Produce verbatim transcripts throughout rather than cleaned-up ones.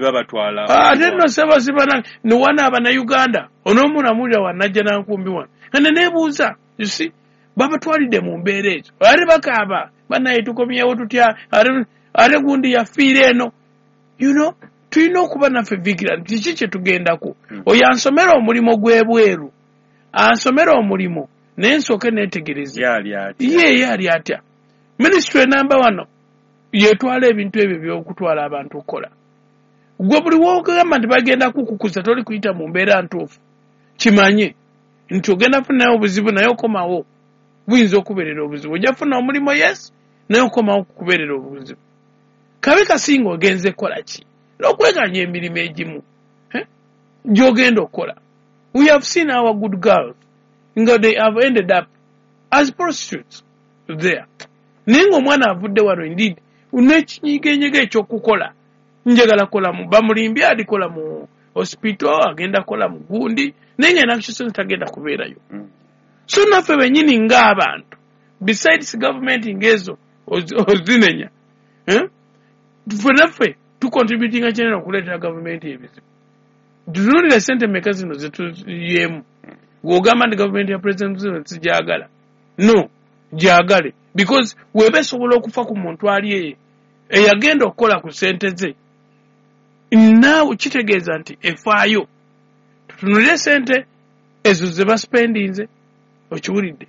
Babatwala. Ate nno sebasibana newana abannayuganda onoomulamulira wanajja nankumbi wano ane nebuuza, you see, babatwalidde mu mbeera ezo, ate bakaaba bannaye tukomyewo tutya, ate ate gundi yafiira eno. You know, tulina okuba naffe vigilant, kiki kye tugendako. Oyo ansomera omulimu gw'ebweru, ansomera omulimu naye nsooke neetegereze Yali atya? Ye ye ali atya. Minisitule namba wano yetwala ebintu ebyo by'okutwala abantu okukola. Gwe buli wogamba nti bagenda kukukuza, toli kuyita mu mbeera ntuufu, kimanye nti ogenda funayo obuzibu, naye okomawo buyinza okubeerera obuzibu. Ojja kufuna omulimu, yes, naye okomawo kukubeerera obuzibu. Kabe kasinga ogenze kukola ki n'okweganya emirimu egimu, eh, gy'ogenda okukola. We have seen our good girls nga they have ended up as prostitutes there, naye ng'omwana avudde wano indeed n'ekinyigenyega ekyokukola, njagala kola mu bamulimbye, alikola mu hospital, agenda kola mu gundi, naye nga nakyo tagenda kubeerayo. Mm. So naffe bennyini ng'abantu, besides government ng'ezo ozi- ozinenya, eh? Ffe naffe tucontributinga kinene okuleetera gavumenti ebizibu. Tutunuulire sente meka zino zetuyeemu. Bw'ogamba nti gavumenti ya President Museveni sijagala, no gyagale, because weba esobola okufa ku muntu ali eyo eyagenda okukola ku sente ze, naawe kitegeeza nti efaayo. Tutunulire sente ezo ze baspendinze, okiwulidde?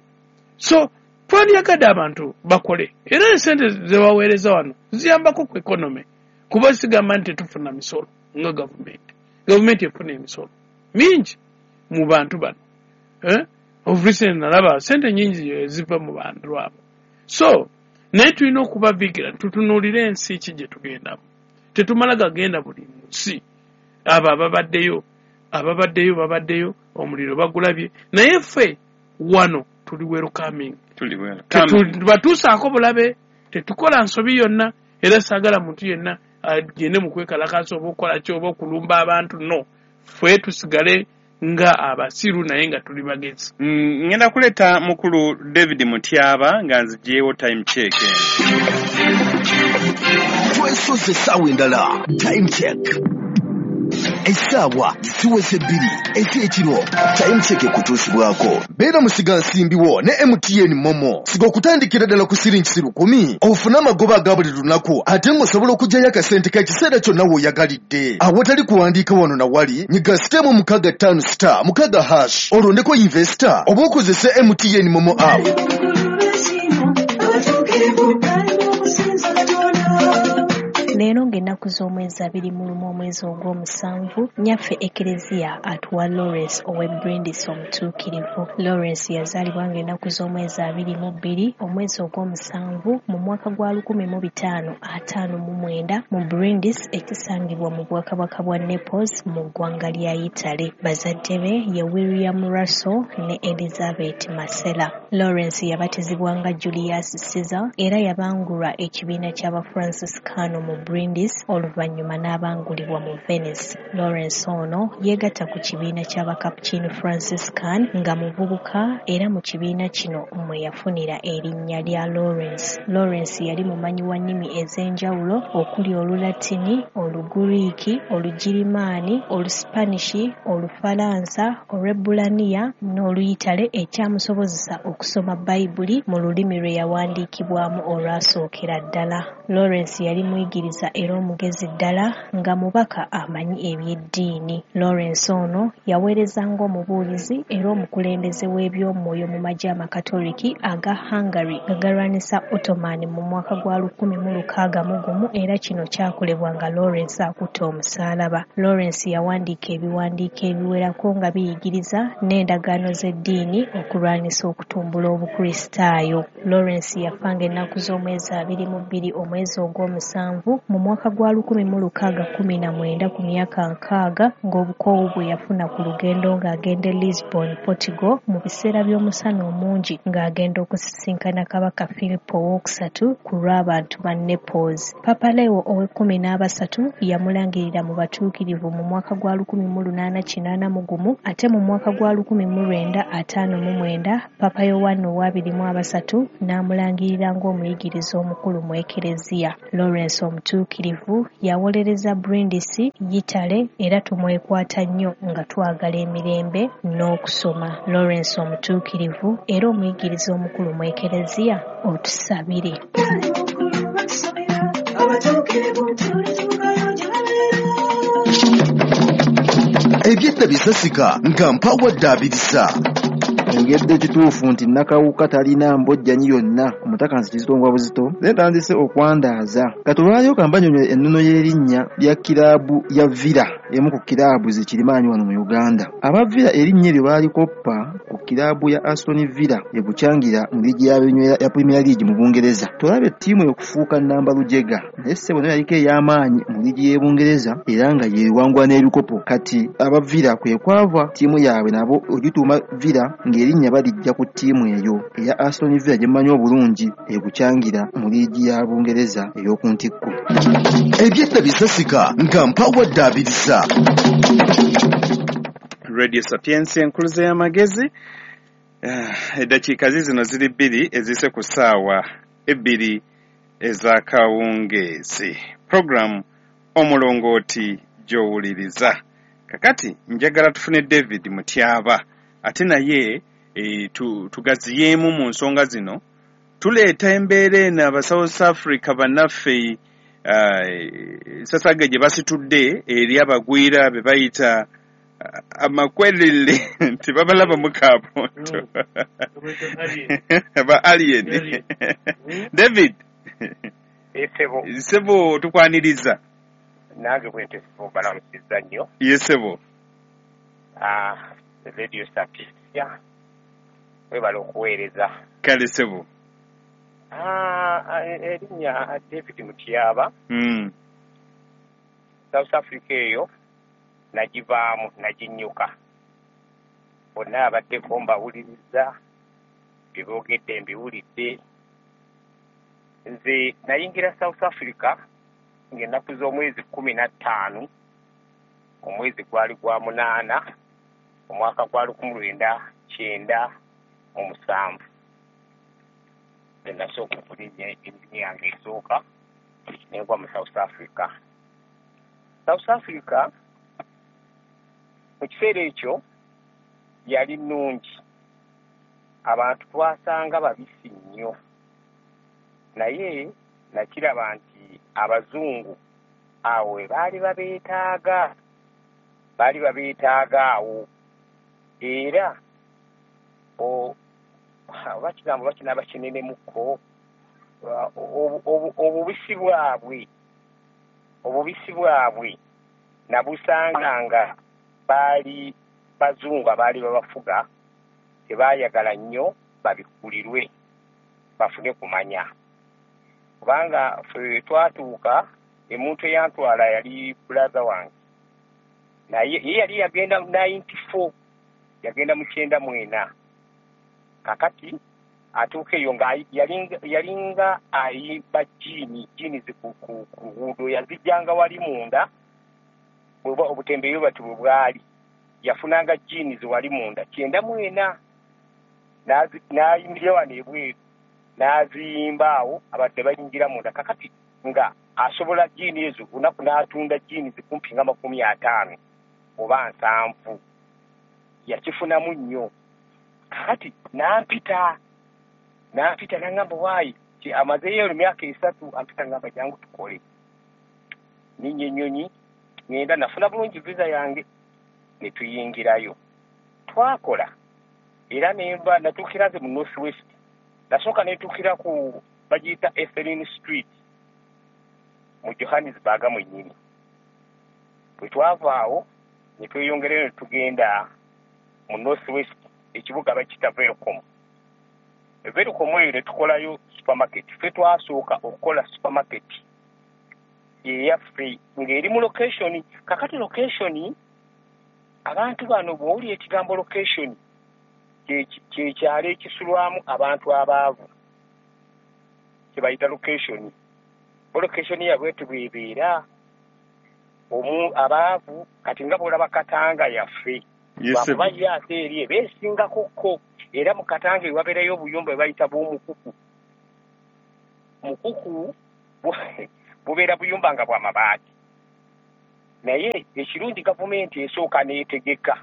So twandyagadde abantu bakole, era esente zebaweereza wano ziyambako ku economy, kuba sigamba nti tetufuna misolo nga gavumenti. Gavumenti efuna emisolo mingi mu bantu bano, eh? Of recent nalaba sente nyingi eziva mu bantu abo. So naye tulina okuba vigilant, tutunuulire ensi ki gye tugendamu. Tetumala gagenda buli nsi. Abo ababaddeyo ababaddeyo babaddeyo, omuliro bagulabye, naye ffe wano tuli welcoming. Tuli well. Batuusaako bulabe, tetukola nsobi yonna, era saagala muntu yenna agende mu kwekalakaasa oba okukola ki oba okulumba abantu. No, ffe tusigale nga abasiru naye nga tuli bagezi. Mm, ngenda kuleeta mukulu David Mutyaba nga nziggyewo time check eno. Twesoze essaawa endala, time check. Essaawa ziweze bbiri ez'ekiro. Time check ekutuusibwako beera musigansimbi wo ne M T N MoMo. Siga okutandikira ddala ku siringisi lukumi ofune amagoba aga buli lunaku, ate ng'osobola okuggyayo akasente k'ekiseera kyonna w'oyagalidde awatali kuwandiika wano na wali. Nyiga star mukaaga ttaano star mukaaga hash, olondeko investor oba okozese M T N MoMo app. Abatuukirivu balina okusinza Katonda. Leero ng'ennaku z'omwezi abiri mu lumu omwezi ogw'omusanvu, nnyaffe Ekereziya atuwa Lawrence ow'e Brindisi omutuukirivu. Lawrence yazaalibwa ng'ennaku z'omwezi abiri mu bbiri omwezi ogw'omusanvu mu mwaka gwa lukumi mu bitaano ataano mu mwenda mu Brindisi, ekisangibwa mu bwakabaka bwa Naples mu ggwanga lya Yitale. Bazadde be ye William Russell ne Elizabeth Marcella. Lawrence yabatizibwa nga Julius Caesar era yabangulwa ekibiina ky'Abafranciscano mu Brindisi, oluvannyuma n'abangulibwa mu Venice. Lawrence ono yeegatta ku kibiina ky'Abacapuchin Franciscan nga muvubuka, era mu kibiina kino mwe yafunira erinnya lya Lawrence. Lawrence yali mumanyi wa nnimi ez'enjawulo okuli Olulatini, Olugiriiki, Olugirimaani, Olusipanishi, Olufalansa, Olwebbulaniya n'Oluyitale, ekyamusobozesa okusoma Bayibuli mu lulimi lwe yawandiikibwamu olwasookera ddala. Lawrence yali muyigiriza era omugezi ddala, nga mubaka amanyi eby'eddiini. Lawrence ono yaweereza ng'omubuulizi era omukulembeze w'ebyomwoyo mu magye Amakatoliki aga Hungary nga galwanisa Ottoman mu mwaka gwa lukumi mu lukaaga mu gumu, era kino kyakolebwa nga Lawrence akutte omusaalaba. Lawrence yawandiika ebiwandiiko ebiwerako nga biyigiriza n'endagaano z'eddiini okulwanyisa okutumbula Obukristaayo. Lawrence yafa ng'ennaku z'omwezi abiri mu bbiri omwezi ogw'omusanvu mu mwaka gwa lukumi mu lukaaga kkumi na mwenda ku myaka nkaaga, ng'obukoowu bwe yafuna ku lugendo ng'agenda e Lisbon, Portugal, mu biseera by'omusana omungi ng'agenda okusisinkana Kabaka Philip Owookusatu ku lw'abantu ba Naples. Papa Leo ow'ekkumi n'abasatu yamulangirira mu batuukirivu mu mwaka gwa lukumi mu lunaana kinaana mu gumu, ate mu mwaka gwa lukumi mu lwenda ataano mu mwenda Papa Yowanna ow'abiri mu abasatu n'amulangirira ng'omuyigiriza omukulu mu Ekereziya. Lawrence omutuukirivu. Omutuukirivu yawolereza Brindisi, Yitale era tumwekwata nnyo nga twagala emirembe n'okusoma. Lawrence Omutuukirivu era omuyigiriza omukulu mu Ekereziya, otusabire. Ebyedda bisasika nga mpawadde abirisa. Engedde kituufu nti Nakawuka talina mbojjanyi yonna, omutaka nsi kizito ngwa buzito, naye ntandise okwandaaza. Kati olwaleero kambanyonyola ennono y'erinnya lya kiraabu ya Villa, emu ku kiraabu zikirimaanyi wano mu Uganda. Aba Villa erinnya eryo baalikoppa ku kiraabu ya Aston Villa e Bukyangira mu liigi ya Premier League mu Bungereza. Tolaba ettiimu okufuuka nnamba lujega, naye ssebo nayo yaliko ey'amaanyi mu liigi y'e Bungereza era nga yeewangula n'ebikopo. Kati aba Villa kwe kwava ttiimu yaabwe nabo ogituuma Villa ng'erinnya balijja ku ttiimu eyo eya Aston Villa gye mmanyi obulungi e Bukyangira mu liigi ya Bungereza ey'oku ntikko. Ebyedda bisasika nga mpawadde abirisa. Radio Sapientia enkuluze y'amagezi. Eddakiika zino ziri bbiri ezise ku ssaawa ebbiri ez'akawungeezi. Program Omulongooti gy'owuliriza. Kakati njagala tufune David Mutyaba ate naye e, tu, tugaziyeemu mu nsonga zino. Tuleeta embeera eno aba South Africa bannaffe uh, sasage gye basitudde eri abagwira be bayita amakwerere nti babalaba mu kaabonto ba alien. David Esebo sebo tukwaniriza. Nange bwente sebo balamusiza nnyo. Yesebo ah Radio Sapientia webala okuweereza. Kale sebo. Ah erinnya David Mutyaba. Mm. South Africa eyo nagivaamu naginnyuka. Bonna abaddeko mbawuliriza, bye boogedde mbiwulidde. Nze nayingira South Africa ng'ennaku z'omwezi kkumi na ttaano, omwezi gwali gwa munaana, omwaka gwa lukumi lwenda kyenda mu musanvu. Nze nasooka okulinnya ennyonyi yange esooka ne ngwa mu South Africa. South Africa mu kiseera ekyo yali nnungi, abantu twasanga babisi nnyo, naye nakiraba nti abazungu awo we baali babeetaaga, baali babeetaaga awo. Era oba kigambo bakinaaba kinenemukko, obubisi bwabwe obubisi bwabwe nabusanga nga baali bazungu abaali babafuga tebaayagala nnyo babikulirwe bafune kumanya, kubanga ffe twatuuka emuntu eyantwala yali brother wange, naye ye yali yagenda ninety-four, yagenda mu kyenda mu ena. Kakati atuuka eyo nga yalinga ayimba jiini jiini ku luguudo, yazijjanga wali munda obutembeeyi bati bwe bwali, yafunanga jiini wali munda kyenda mu ena, n'ayimirira wano ebweru n'aziyimba awo abantu ne bayingira munda. Kakati nga asobola jiini ezo lunaku n'atunda jiini zikumpi nga makumi ataano oba nsanvu, yakifunamu nnyo. Kakati n'ampita n'ampita n'angamba waayi amazeeyo emyaka esatu, ampita ngamba jangu tukole. Ninnya ennyonyi ngenda, nafuna bulungi visa yange ne tuyingirayo. Twakola era nemba natuukira nze mu North West, nasooka netuukira ku bagiyita Ethelin Street mu Johannesburg mwennyini. Bwe twava awo ne tweyongerayo ne tugenda mu North West, ekibuga bakiyita Welkom. Welkom eyo ne tukolayo supermarket. Ffe twasooka okukola supermarket eyaffe ng'eri mu location. Kakati location, abantu bano bw'owulira ekigambo location kye kyalo ekisulwamu abantu abaavu kye bayita location. Location yabwe tebwebeera omu abaavu, kati nga bw'olaba Katanga yaffe lwakuba ye ate eri ebeesingakokko, era mu Katanga ewabeerayo obuyumba bwe bayita bw'omukuku. Mukuku Bubeera buyumba nga bwa mabaati. Naye ekirungi gavumenti esooka n'etegeka,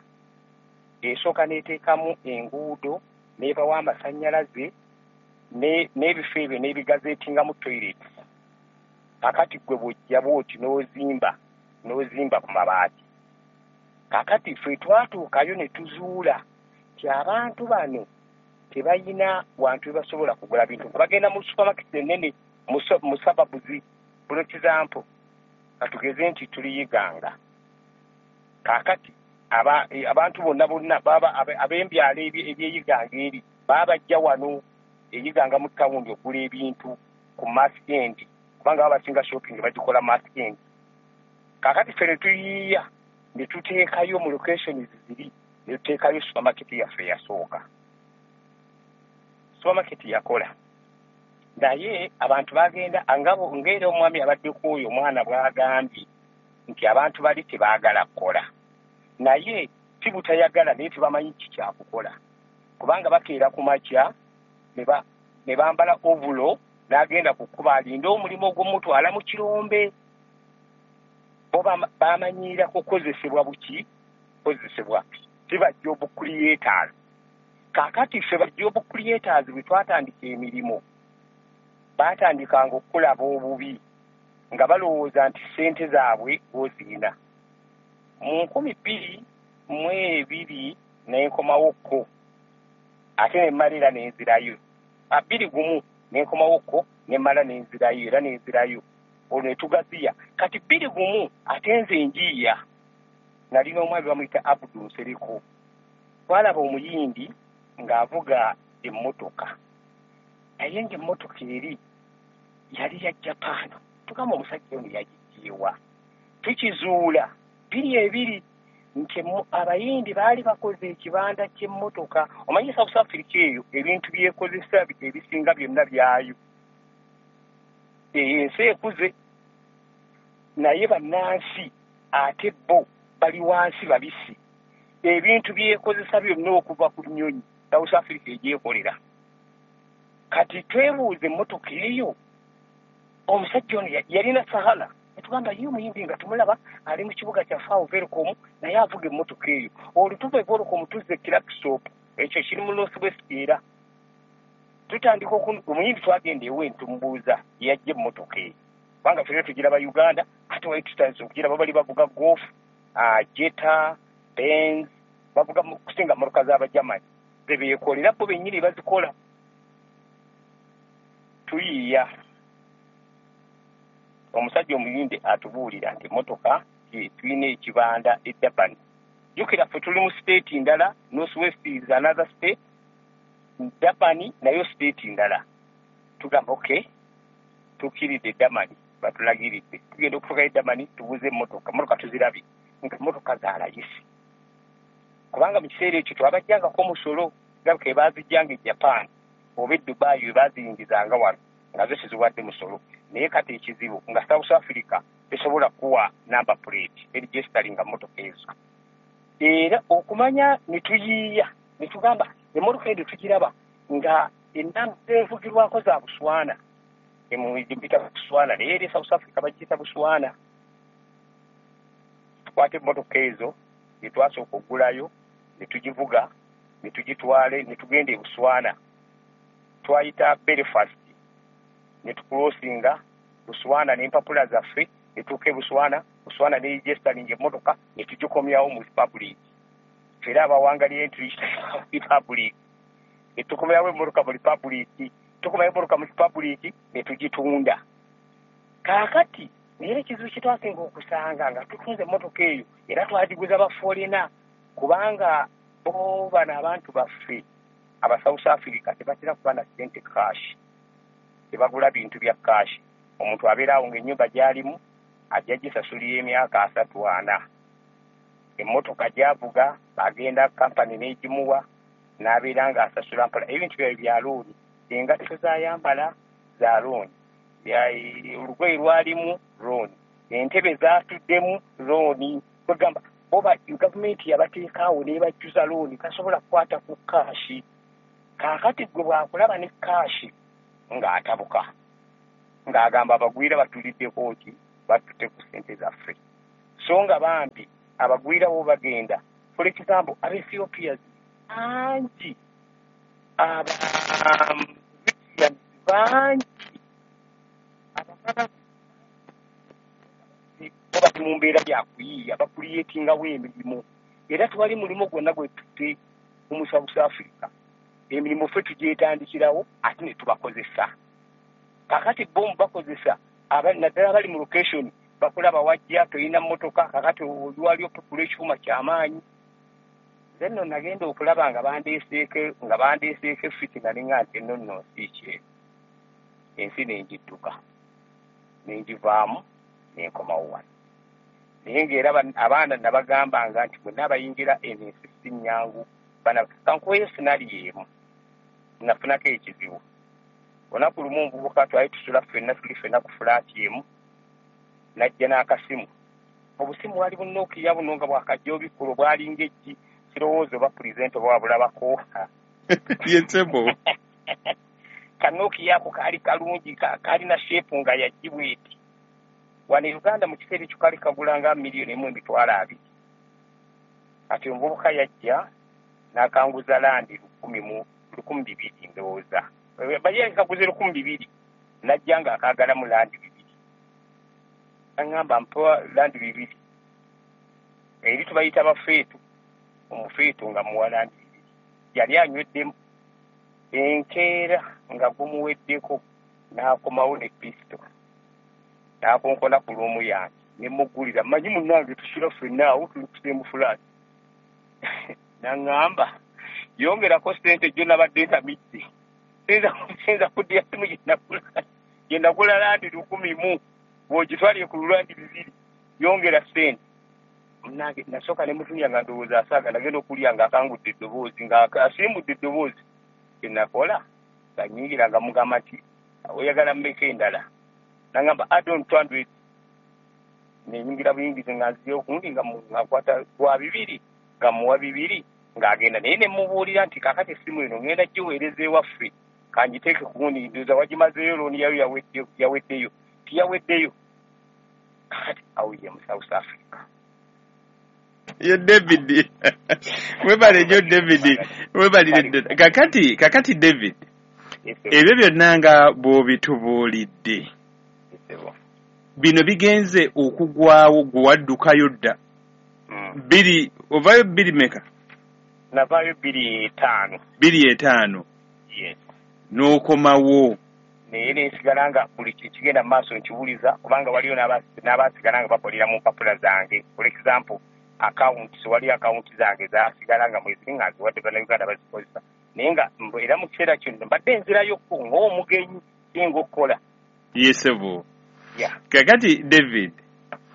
esooka n'eteekamu enguudo, n'ebawa amasannyalaze, n'ebifo ebyo n'ebigazeetingamu toilets. Kaakati ggwe bw'ojja bw'oti n'ozimba, n'ozimba ku mabaati. Kaakati ffe twatuukayo ne tuzuula nti abantu bano tebalina wantu we basobola kugula bintu. Bagenda mu supermarket ennene, mu suburbs, for example, katugeze nti tuli Iganga. Kaakati abantu bonna bonna ab'embyalo eby'e Iganga eri babajja wano e Iganga mu tawuni okugula ebintu ku mass end, kubanga baba basinga shopping bagikola mass end. Kaakati ffe ne tuyiiya ne tuteekayo mu locations ziri, ne tuteekayo supermarket yaffe eyasooka. Supermarket yakola, naye abantu bagenda ng'era omwami abaddeko oyo omwana bw'agambye nti abantu bali tebaagala kukola, naye si butayagala, naye tebamanyi ki kyakukola, kubanga bakeera ku makya ne bambala ovulo n'agenda ku kkubo alinde omulimu ogw'omutwala mu kirombe. Bo bamanyiira kukozesebwa buki? Kukozesebwa si ba job creators. Kaakati ffe ba job creators bwe twatandika emirimu, baatandikanga okulaba obubi nga balowooza nti ssente zaabwe gw'ozirina. Mu nkumi bbiri mu ebiri nenkomawokko, ate ne mmala era nenzirayo. Bbiri gumu nenkomawokko ne mmala nenzirayo era nenzirayo, olwo ne tugaziya. Kati bbiri gumu ate nze njiiya, nalina omwami bamuyita Abdu Nsereko. Twalaba omuyindi ng'avuga emmotoka, naye ng'emmotoka eri yali ya Japan. Tugamba omusajja ono yagiggyewa? Tukizuula bbiri ebiri nti abayindi baali bakoze ekibanda ky'emmotoka. Omanyi South Africa eyo ebintu byekozesa ebisinga byonna byayo, eyo ensi ekuze, naye bannansi ate bo bali wansi babisi. Ebintu byekozesa byonna okuva ku nnyonyi South Africa egyekolera. Kati twebuuze emmotoka eyo omusajja ono yalina Sahara, netugamba ye omuyindi nga tumulaba ali mu kibuga kyaffe awo Welkom, naye avuga emmotoka eyo. Olwo tuva e Welkom tuzza e Klerksdorp, ekyo kiri mu North West. Era tutandika omuyindi twagenda ewe ntumubuuza yajja emmotoka eyo, kubanga ffenna tugiraba Uganda, ate wali tutandise okugiraba bali bavuga Golf, Jetta, Benz, bavuga kusinga mmotoka z'Abagermany ze beekolera bo bennyini bazikola. Tuyiiya, omusajja omuyindi atubuulira nti emmotoka tulina ekibanda e Durban. Jjukira ffe tuli mu state ndala, North West is another state, Durban nayo state ndala. Tugamba okay, tukkiridde Durban, batulagiridde. Tugenda okutuuka e Durban tubuze emmotoka, emmotoka tuzirabye nga emmotoka za layisi, kubanga mu kiseera ekyo twabajjangako omusolo, gabika ebazijjanga e Japan oba e Dubai we baziyingizanga wano nga zo teziwadde musolo. Naye kati ekizibu nga South Africa tesobola kuwa number plate eregisteringa mmotoka ezo. Era okumanya ne tuyiiya ne tugamba emmotoka eyo tugiraba nga enamba evugirwako za Buswana, emuyita Buswana, naye eri South Africa bagiyita Buswana. Tukwata emmotoka ezo ne twasooka okugulayo ne tugivuga ne tugitwale ne tugenda e Buswana. Twayita Belfast ne tukulosinga Buswana n'empapula zaffe ne tutuuka e Buswana, Buswana ne registeringa emmotoka ne tugikomyawo mu Republic. Ffe era abawangalire tuyita Republic, ne tukomyawo emmotoka mu Republic, tukomyawo emmotoka mu Republic ne tugitunda. Kaakati naye ekizibu kye twasinga okusanga nga tutunze emmotoka eyo, era twagiguza ba foreigner, kubanga bo bano abantu baffe aba South Africa tebatera kuba na ssente cash, tebagula bintu bya cash. Omuntu abeera awo ng'ennyumba gy'alimu ajja gisasulira emyaka asatu ana, emmotoka gy'avuga bagenda kampani n'egimuwa n'abeera ng'asasula mpola. Ebintu byabwe bya looni, engatto z'ayambala za looni, olugoye lwalimu looni, entebe z'atuddemu looni. Kwegamba bo gavumenti yabateekaawo n'ebajjuza looni, tasobola kukwata ku cash. Kaakati gwe bw'akulaba ne cash ng'atabuka. Ng'agamba abagwira batuliddeko ki, batutte ku ssente zaffe. So nga bambi abagwira bo bagenda, for example, Abaethiopians bangi, aba bangi, abakaba bali mu mbeera ya kuyiiya, bakuliyetingawo emirimu. Era tewali mulimu gwonna gwe tutte mu South Africa. Emirimu ffe tugyetandikirawo ate ne tubakozesa. Kakati bo mubakozesa, naddala abali mu location bakulaba wajja toyina mmotoka, kakati wali okukula ekyuma kyamaanyi. Nze nno nagenda okulaba nga bandeeseeko nga bandeeseeko effiti, nga ninga nti nno nno nsi ki ensi nengidduka nengivaamu nenkomawo wano. Naye ng'era abaana nabagambanga nti bwenna abayingira eno ensi si nnyangu. Kankuweyo scenario emu nafunako ekizibu. Olunaku lumu omuvubuka twali tusula ffenna, tuli ffenna ku fulaati emu, najja n'akasimu. Obusimu bwali bunookiya buno nga bwakajja obikkulo, bwalinga eggi, sirowooza oba pulezidenti oba wabulabako. Yetsebo. Kanookiya ako kaali kalungi, kaalina sheepu nga yaggi bweti. Wano e Uganda mu kiseera ekyo kaali kagula nga miliyoni emu emitwalo abiri. Kati omuvubuka yajja n'akanguza landi lukumi mu lukumi bibiri ndowooza. Baye kaguze lukumi bibiri, najja ng'akaagalamu landi bibiri. Aŋŋamba mpa landi bibiri. Eri tubayita bafeetu, omufeetu nga muwa landi bibiri. Yali anyweddemu enkeera nga gumuweddeko, n'akomawo ne pisito. N'akonkona ku luumu yange ne muggulira, mmanyi munnange tusula ffenna awo tuli ku fulaati. N'aŋŋamba yongerako ssente gyo nabadde ntamidde. Siyinza kuddira simu gye nagula landi lukumi mu, bw'ogitwalire ku lulandi bibiri, yongera ssente. Munnange nasooka ne mutunya nga ndowooza asaaga, nagenda okulya ng'akangudde eddoboozi, ng'asimbudde eddoboozi. Kye nakola nga nnyingira nga mugamba nti oyagala mmeka endala? N'aŋŋamba add on two hundred. Nenyingira buyingizi nga nzizeewo kundi nga nkwata gwa bibiri, nga muwa bibiri, ng'agenda. Naye ne mubuulira nti kaakati essimu eno ngenda giweereza ewaffe, kangiteeke ku gundi, ndowooza wagimazeeyo looni yayo yaweddeyo. Tiyaweddeyo. Kakati awo ye mu South Africa. Ye David. Webale nnyo David. Webalire ddala. Kakati, kakati David, ebyo byonna nga bw'obitubuulidde, bino bigenze okugwawo gwe waddukayo dda. Bbiri, ovaayo bbiri meka? Navaayo bbiri etaano. Bbiri etaano. Yes. N'okomawo. Naye nensigala nga buli kigenda mu maaso nkiwuliza, kubanga waliyo n'abaasigala nga bakolera mu mpapula zange. For example, accounts, waliyo accounts zange zaasigala nga mweziri nga nziwadde Bannayuganda bazikozesa. Naye nga era mu kiseera kino mbadde nzirayokko ng'omugenyi singa okukola. Yesebo. Yeah. Kakati David,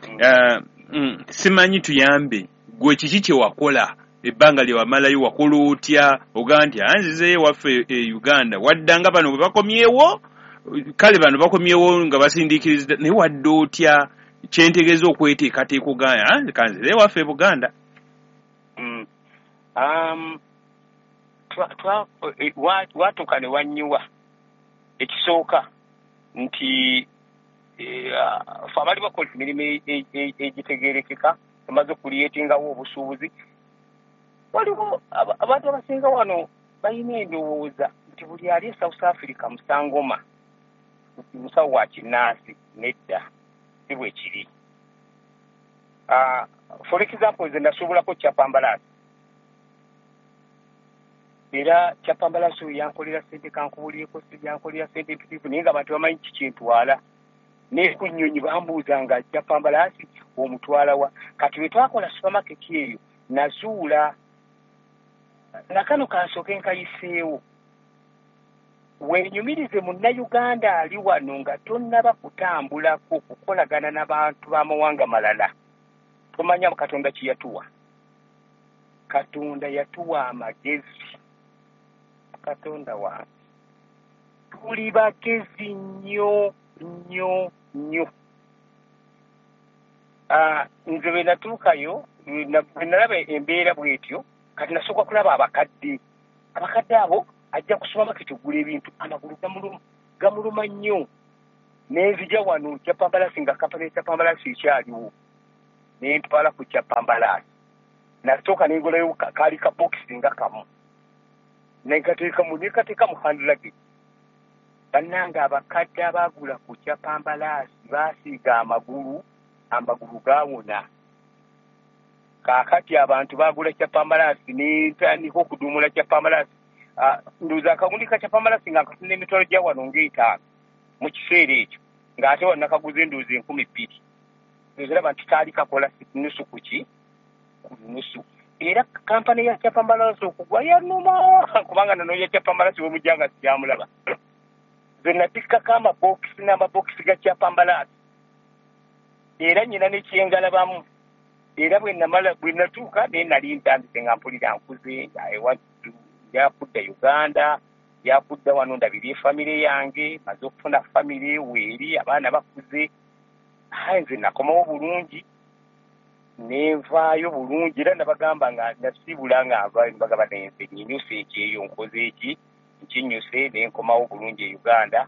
mm. uh, mm, simanyi tuyambe gwe kiki kye wakola ebbanga lye wamalayo, wakola otya? Ogamba nti anzizeeyo waffe e Uganda, waddanga bano bwe bakomyewo, kale bano bakomyewo nga basindiikiriza, naye wadde otya? Kyentegeeza okweteekateeka ogamba kanzireyo waffe e Buganda. Mm. Um, watuuka ne wannyiwa. Ekisooka nti ffe abali bakola emirimu egitegeerekeka, tumaze okuliyetingawo obusuubuzi. Waliwo abantu abasinga wano balina endowooza nti buli ali e South Africa musangoma, musawo wa kinnansi. Nedda, si bwe kiri. For example, nze nasuubulako Chapambalaasi. Era Chapambalaasi oyo yankolera ssente, kankubuulireko, yankolera ssente mpitirivu, naye ng'abantu bamanyi kikintwala. Naye ku nnyonyi bambuuzanga Chapambalaasi omutwala wa? Kati bwe twakola supermarket eyo, nazuula nakano kansooke nkayiseewo. Weenyumirize Munnayuganda ali wano nga tonnaba kutambulako kukolagana n'abantu b'amawanga malala. Tomanya Katonda kye yatuwa. Katonda yatuwa amagezi. Katonda wange, tuli bagezi nnyo nnyo nnyo. Nze bwe natuukayo, bwe nalaba embeera bw'etyo, kati nasooka kulaba abakadde. Abakadde abo ajja ku supermarket okugula ebintu, amagulu gamuluma nnyo. Nenzija wano Chapambalasi nga kampani Chapambalasi ekyaliwo, nentwala ku Chapambalasi. Nasooka nengulayo kaali ka bokisi nga kamu, nenkateekamu nekateeka mu hand luggage. Bannange abakadde abaagula ku Chapambalasi baasiiga amagulu, amagulu gaawona. Kaakati abantu baagula Chapambalasi, nentandika okuduumula Chapambalasi. Ndowooza akagundi ka Chapambalasi nga nkafuna emitwalo gya wano ng'etaano mu kiseera ekyo, ng'ate wano nakaguza endowooza enkumi bbiri. Ndowooza olaba nti kaali kakola nusu ku ki? Ku nusu. Era kampani ya Chapambalasi okugwa yannuma, kubanga nanoonya Chapambalasi we mujja nga sikyamulaba. Nze natikkako amabokisi n'amabokisi ga Chapambalasi, era nnyina ne kyengalabamu. Era bwe namala bwe natuuka naye nali ntandise nga mpulira nkuze, ewattu njakudda Uganda, njakudda wano ndabirye famire yange, maze okufuna famire weeri, abaana bakuze. Aye nze nakomawo bulungi, nenvaayo bulungi. Era nabagamba nga nasiibula nga nvaayo, nibagamba naye nze nyinyuse ekyeyo, nkoze eki, nkinyuse, nenkomawo bulungi e Uganda,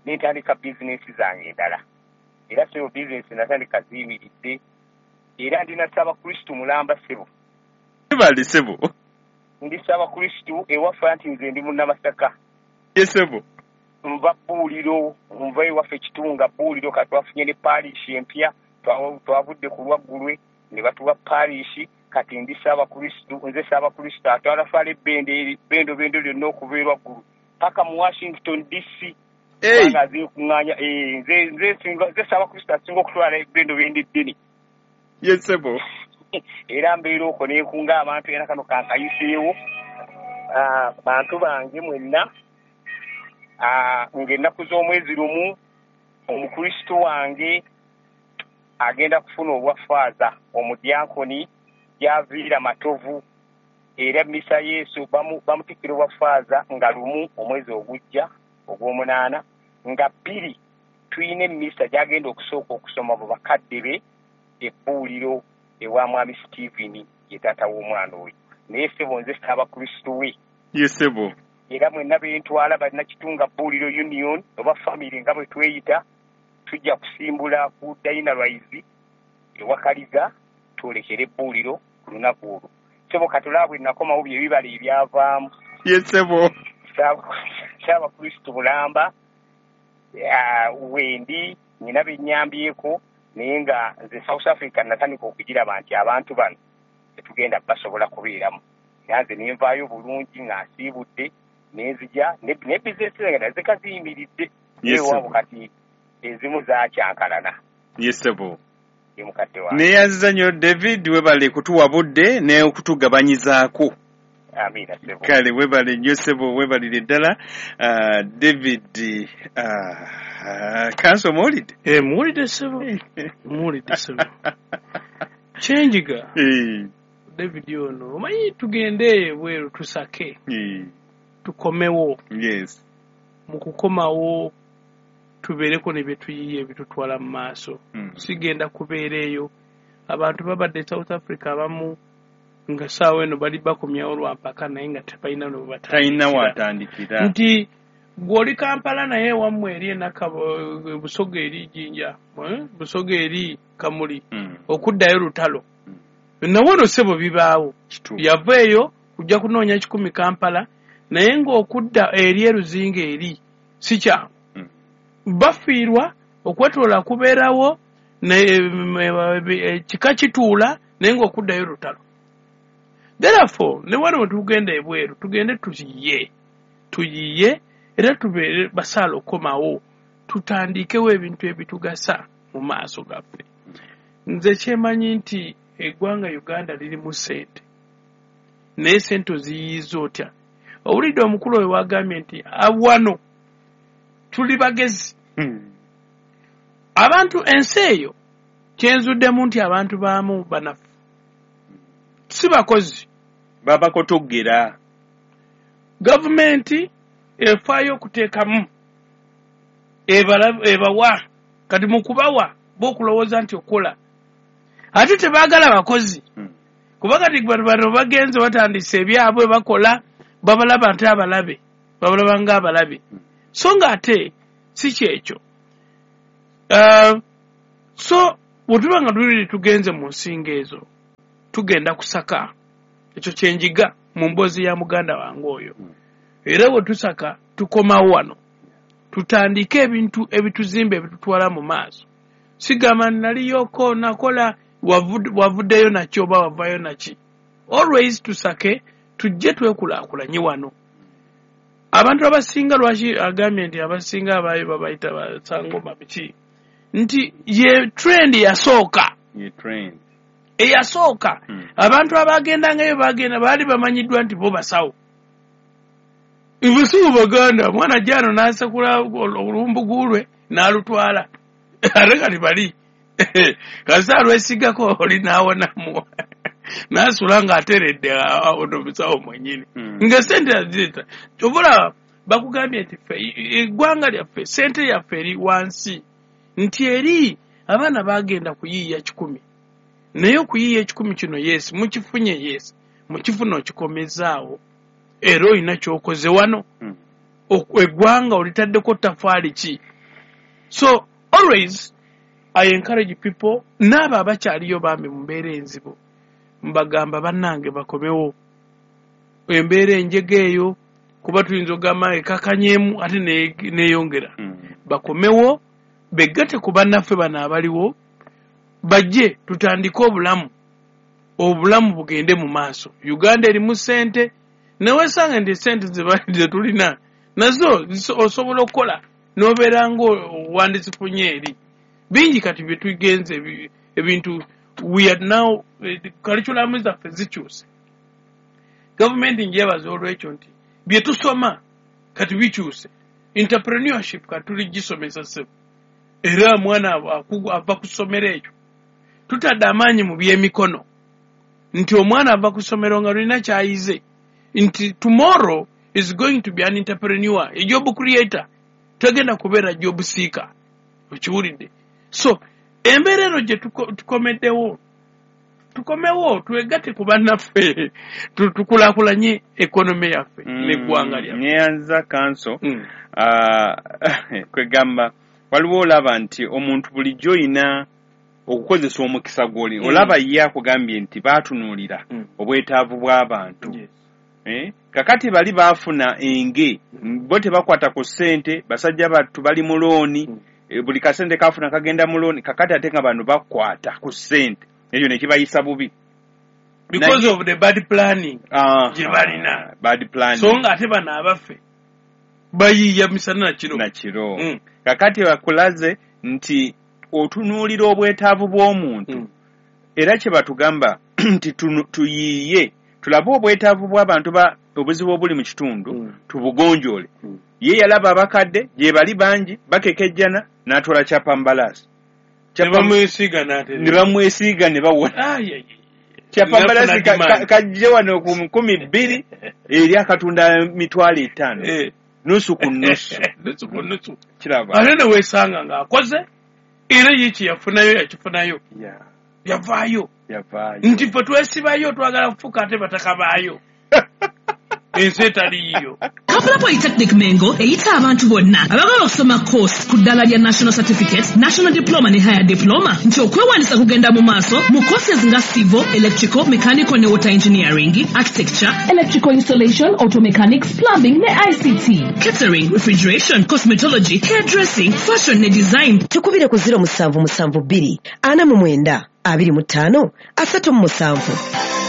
nentandika bizinesi zange endala. Era sebo bizinesi natandika ziyimiridde, era ndi na Ssaabakristu mulamba sebo. Bali sebo. Ndi Ssaabakristu ewaffe, anti nze ndi Munnamasaka. Ye sebo. Nva Bbuuliro, nva ewaffe Kitunga Bbuuliro, kati twafunye ne parish empya, twavudde ku Lwaggulwe ne batuwa parish. Kati ndi Ssaabakristu, nze Ssaabakristu atwala twala ebbendo bendo bendo lyonna okuva e Lwaggulwe paka mu Washington D C. Kubanga azeekuŋŋaanya, nze nze nze Ssaabakristu asinga okutwala ebbendo bendo eddene. Ye sebo. Era mbeera okwo neekunga abantu, era kano kankayiseewo bantu bange mwenna, ng'ennaku z'omwezi lumu omukristu wange agenda kufuna obwafaaza omudyankoni gyaviira Matovu. Era misa Yesu bamutikkira obwafaaza nga lumu omwezi ogujja ogw'omunaana, nga bbiri tuyina emmisa gy'agenda okusooka okusoma mu bakadde be ebbuuliro ewa Mwami Stephen, ye taata w'omwana oyo. Naye ssebo nze Ssaabakristu we. Ye ssebo. Era mwenna bentwala Bannakitunga Bbuuliro Union oba famire nga bwe tweyita, tujja kusimbula ku Dynarize ewa Kaliga twolekere ebbuuliro ku lunaku olwo. Ssebo katulaba bwe nakomawo bye bibala ebyavaamu. Ye ssebo. Ssaabakristu bulamba wendi nnyina bennyambyeko, naye nga nze South Africa natandika okugiraba nti abantu bano tetugenda basobola kubeeramu. Era nze nenvaayo bulungi nga nsiibudde, nenzija ne bizinesi zange nazeka ziyimiridde. Ewaabo kati ezimu zaakyankalana. Ye ssebo. Ye mukadde wange. Neeyanziza nnyo David, webale kutuwa budde n'okutugabanyizaako. Amiina ssebo. Kale webale nnyo ssebo, webalire ddala. David Kanso muwulidde? Eh, muwulidde ssebo. Muwulidde ssebo. Kyenjiga. David ono, omanyi tugende ebweru tusake. Tukomewo. Yes. Mu kukomawo tubeereko ne bye tuyiye ebitutwala mu maaso. Sigenda kubeera eyo. Abantu babadde South Africa abamu nga ssaawa eno bali bakomyawo lwa mpaka, naye nga tebalina ne we Talina w'atandikira. Nti gw'oli Kampala naye ewammwe eri Enakabo, Busoga eri Jinja, Busoga eri Kamuli, okuddayo lutalo. Nawe ono ssebo bibaawo. Yava eyo kujja kunoonya kikumi Kampala, naye ng'okudda eri eruzinga eri si kyangu. Bafiirwa okwetoola kubeerawo, kika kituula, naye ng'okuddayo lutalo. Therefore, ne wano we tugenda ebweru, tugende tuyiye, tuyiye era tubeere basaala okomawo, tutandikewo ebintu ebitugasa mu maaso gaffe. Nze kyemanyi nti eggwanga Uganda lirimu ssente, naye ssente oziyiiza otya? Owulidde omukulu oyo wagambye nti wano tuli bagezi. Abantu ensi eyo kyenzuddemu nti abantu baamu banafu, si bakozi, babakotogera. Gavumenti efaayo okuteekamu ebawa, kati mu kubawa bo okulowooza nti okola, ate tebaagala bakozi. Kuba kati bano bagenze batandise ebyabwe bakola, babalaba nti abalabe, babalaba ng'abalabe. So ng'ate si kyekyo. Uh, so bwe tuba nga tuli tugenze mu nsinga ezo, tugenda kusaka. Ekyo kyenjiga mu mboozi ya muganda wange oyo. Era bwe tusaka, tukomawo wano, tutandike ebintu ebituzimba, ebitutwala mu maaso. Sigamba naliyoko nakola, wavuddeyo nakyo oba wavayo naki. Always tusake, tujje twekulaakulanye wano. Abantu abasinga, lwaki agambye nti abasinga abaayo babayita basangoma biki, nti ye trend yasooka. Ye trend. Eyasooka. Mm. Abantu abagendangayo bagenda baali bamanyiddwa nti bo basawo, busibu baganda. Mwana jano n'asekula olumbugu lwe n'alutwala, ate kati bali kasi alwesigako oli n'awonamu n'asula ng'ateredde ono musawo mwennyini. Mm. Nga sente azireta. Kyova bakugambye nti ffe eggwanga lyaffe, sente yaffe eri wansi, nti eri abaana bagenda kuyiiya kikumi, naye okuyiiya ekikumi kino, yes, mukifunye, yes, mukifuna, okikomezaawo, era olina kyokoze wano. Mm. Oku- eggwanga olitaddeko tafaali ki? So always I encourage people, n'abo abakyaliyo bambi mu mbeera enzibu, mbagamba bannange bakomewo. Embeera enjega eyo, kuba tuyinza okugamba ekakanyemu ate ne- neeyongera. Mm. Bakomewo, beggate ku bannaffe bano abaliwo, bajje tutandike obulamu, obulamu bugende mu maaso. Uganda erimu ssente, newesanga nti sente ze tulina nazo ziso- osobola okukola n'obeera nga owandizifunye eri bingi. Kati bye tugenze ebi- ebintu, we are now, eh, curriculum zaffe zikyuse. Gavumenti njebaza olwekyo nti bye tusoma kati bikyuse. Entrepreneurship kati tuli gisomesa ssebo, era omwana akugu- ava ku ssomero ekyo. Tutadde amaanyi mu byemikono, nti omwana ava ku ssomero nga lulina kyayize, nti tomorrow is going to be an entrepreneur, a job creator, tagenda kubeera job seeker. Okiwulidde? So embeera eno gye tuko- tukomeddewo, tukomewo twegatte ku bannaffe, tu- tukulaakulanye economy yaffe n'eggwanga lyaffe. Neyanza kanso. Mm. Ah, kwegamba waliwo olaba nti omuntu bulijjo oyina okukozesa omukisa gw'oli. Mm. Olaba ye akugambye nti baatunuulira Mm. obwetaavu bw'abantu. Yes. Eh? Kakati bali baafuna enge, bo tebakwata ku ssente, basajja battu bali mu looni. Mm. Eh, buli kasente kafuna kagenda mu looni. Kakati ate nga bano bakwata ku ssente, ekyo ne kibayisa bubi. Because of the bad planning Ah, gye balina. Bad planning. So nga ate bano abaffe bayiiya misana na kiro. Na kiro. Mm. Kakati bakulaze nti otunuulira obwetaavu bw'omuntu. Mm. Era kye batugamba nti tunu- tuyiiye tulabe obwetaavu bw'abantu, ba obuzibu obuli mu kitundu, Mm. tubugonjoole. Mm. Ye yalaba abakadde gye bali bangi bakekejjana, n'atwala kyapambalaasi. Ne bamwesiiga n'atereera. Ne bamwesiiga ne bawona. Ai, ai, ai. Kyapambalaasi Nafuna ka- demand. ka- kajje wano ku nkumi bbiri, eri akatunda mitwalo etaano. Eh. Nusu ku nusu. Nusu ku nusu. Kiraba. Ate ne weesanga ng'akoze, era ye kyeyafunayo yakifunayo. Yeah, yavaayo. Yavaayo. Nti ffe twesibayo, twagala kufuuka ate bataka baayo, ensi etaliiyo. Kampala Polytechnic Mengo eyita abantu bonna abagala okusoma course ku ddala lya National Certificate, National Diploma ne Higher Diploma nti okwewandiisa kugenda mu maaso mu courses nga civil, electrical, mechanical ne water engineering, architecture, electrical installation, auto mechanics, plumbing ne I C T, catering, refrigeration, cosmetology, hairdressing, fashion ne design. Tukubire ku zero musanvu musanvu bbiri ana mu mwenda abiri mu ttaano asatu mu musanvu.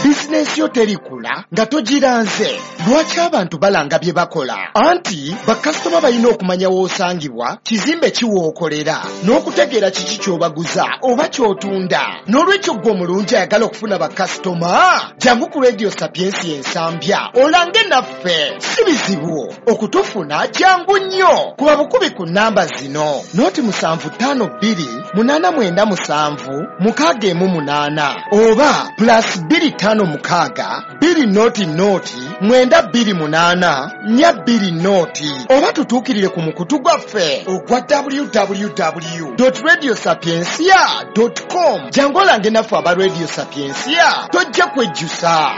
Bizinensi yo terikula nga togiranze. Lwaki abantu balanga bye bakola? Anti bakasitoma balina okumanya w'osangibwa, kizimbe kiwookolera, n'okutegeera kiki ky'obaguza oba ky'otunda. N'olwekyo ggwe omulungi ayagala okufuna bakasitoma, jangu ku Radio Sapiensi ensambya olange naffe. Si bizibu okutufuna, jangu nnyo. Kuba bukubi ku namba zino: noti musanvu ttaano bbiri munaana mwenda musanvu mukaaga emu munaana, oba plus bbiri ttaano mukaaga bbiri noti noti mwenda bbiri munaana nnya bbiri noti, oba tutuukirire ku mukutu gwaffe ogwa W W W radio sapiencia com. Jangu olange naffe aba Radio Sapiencia, tojja kwejjusa.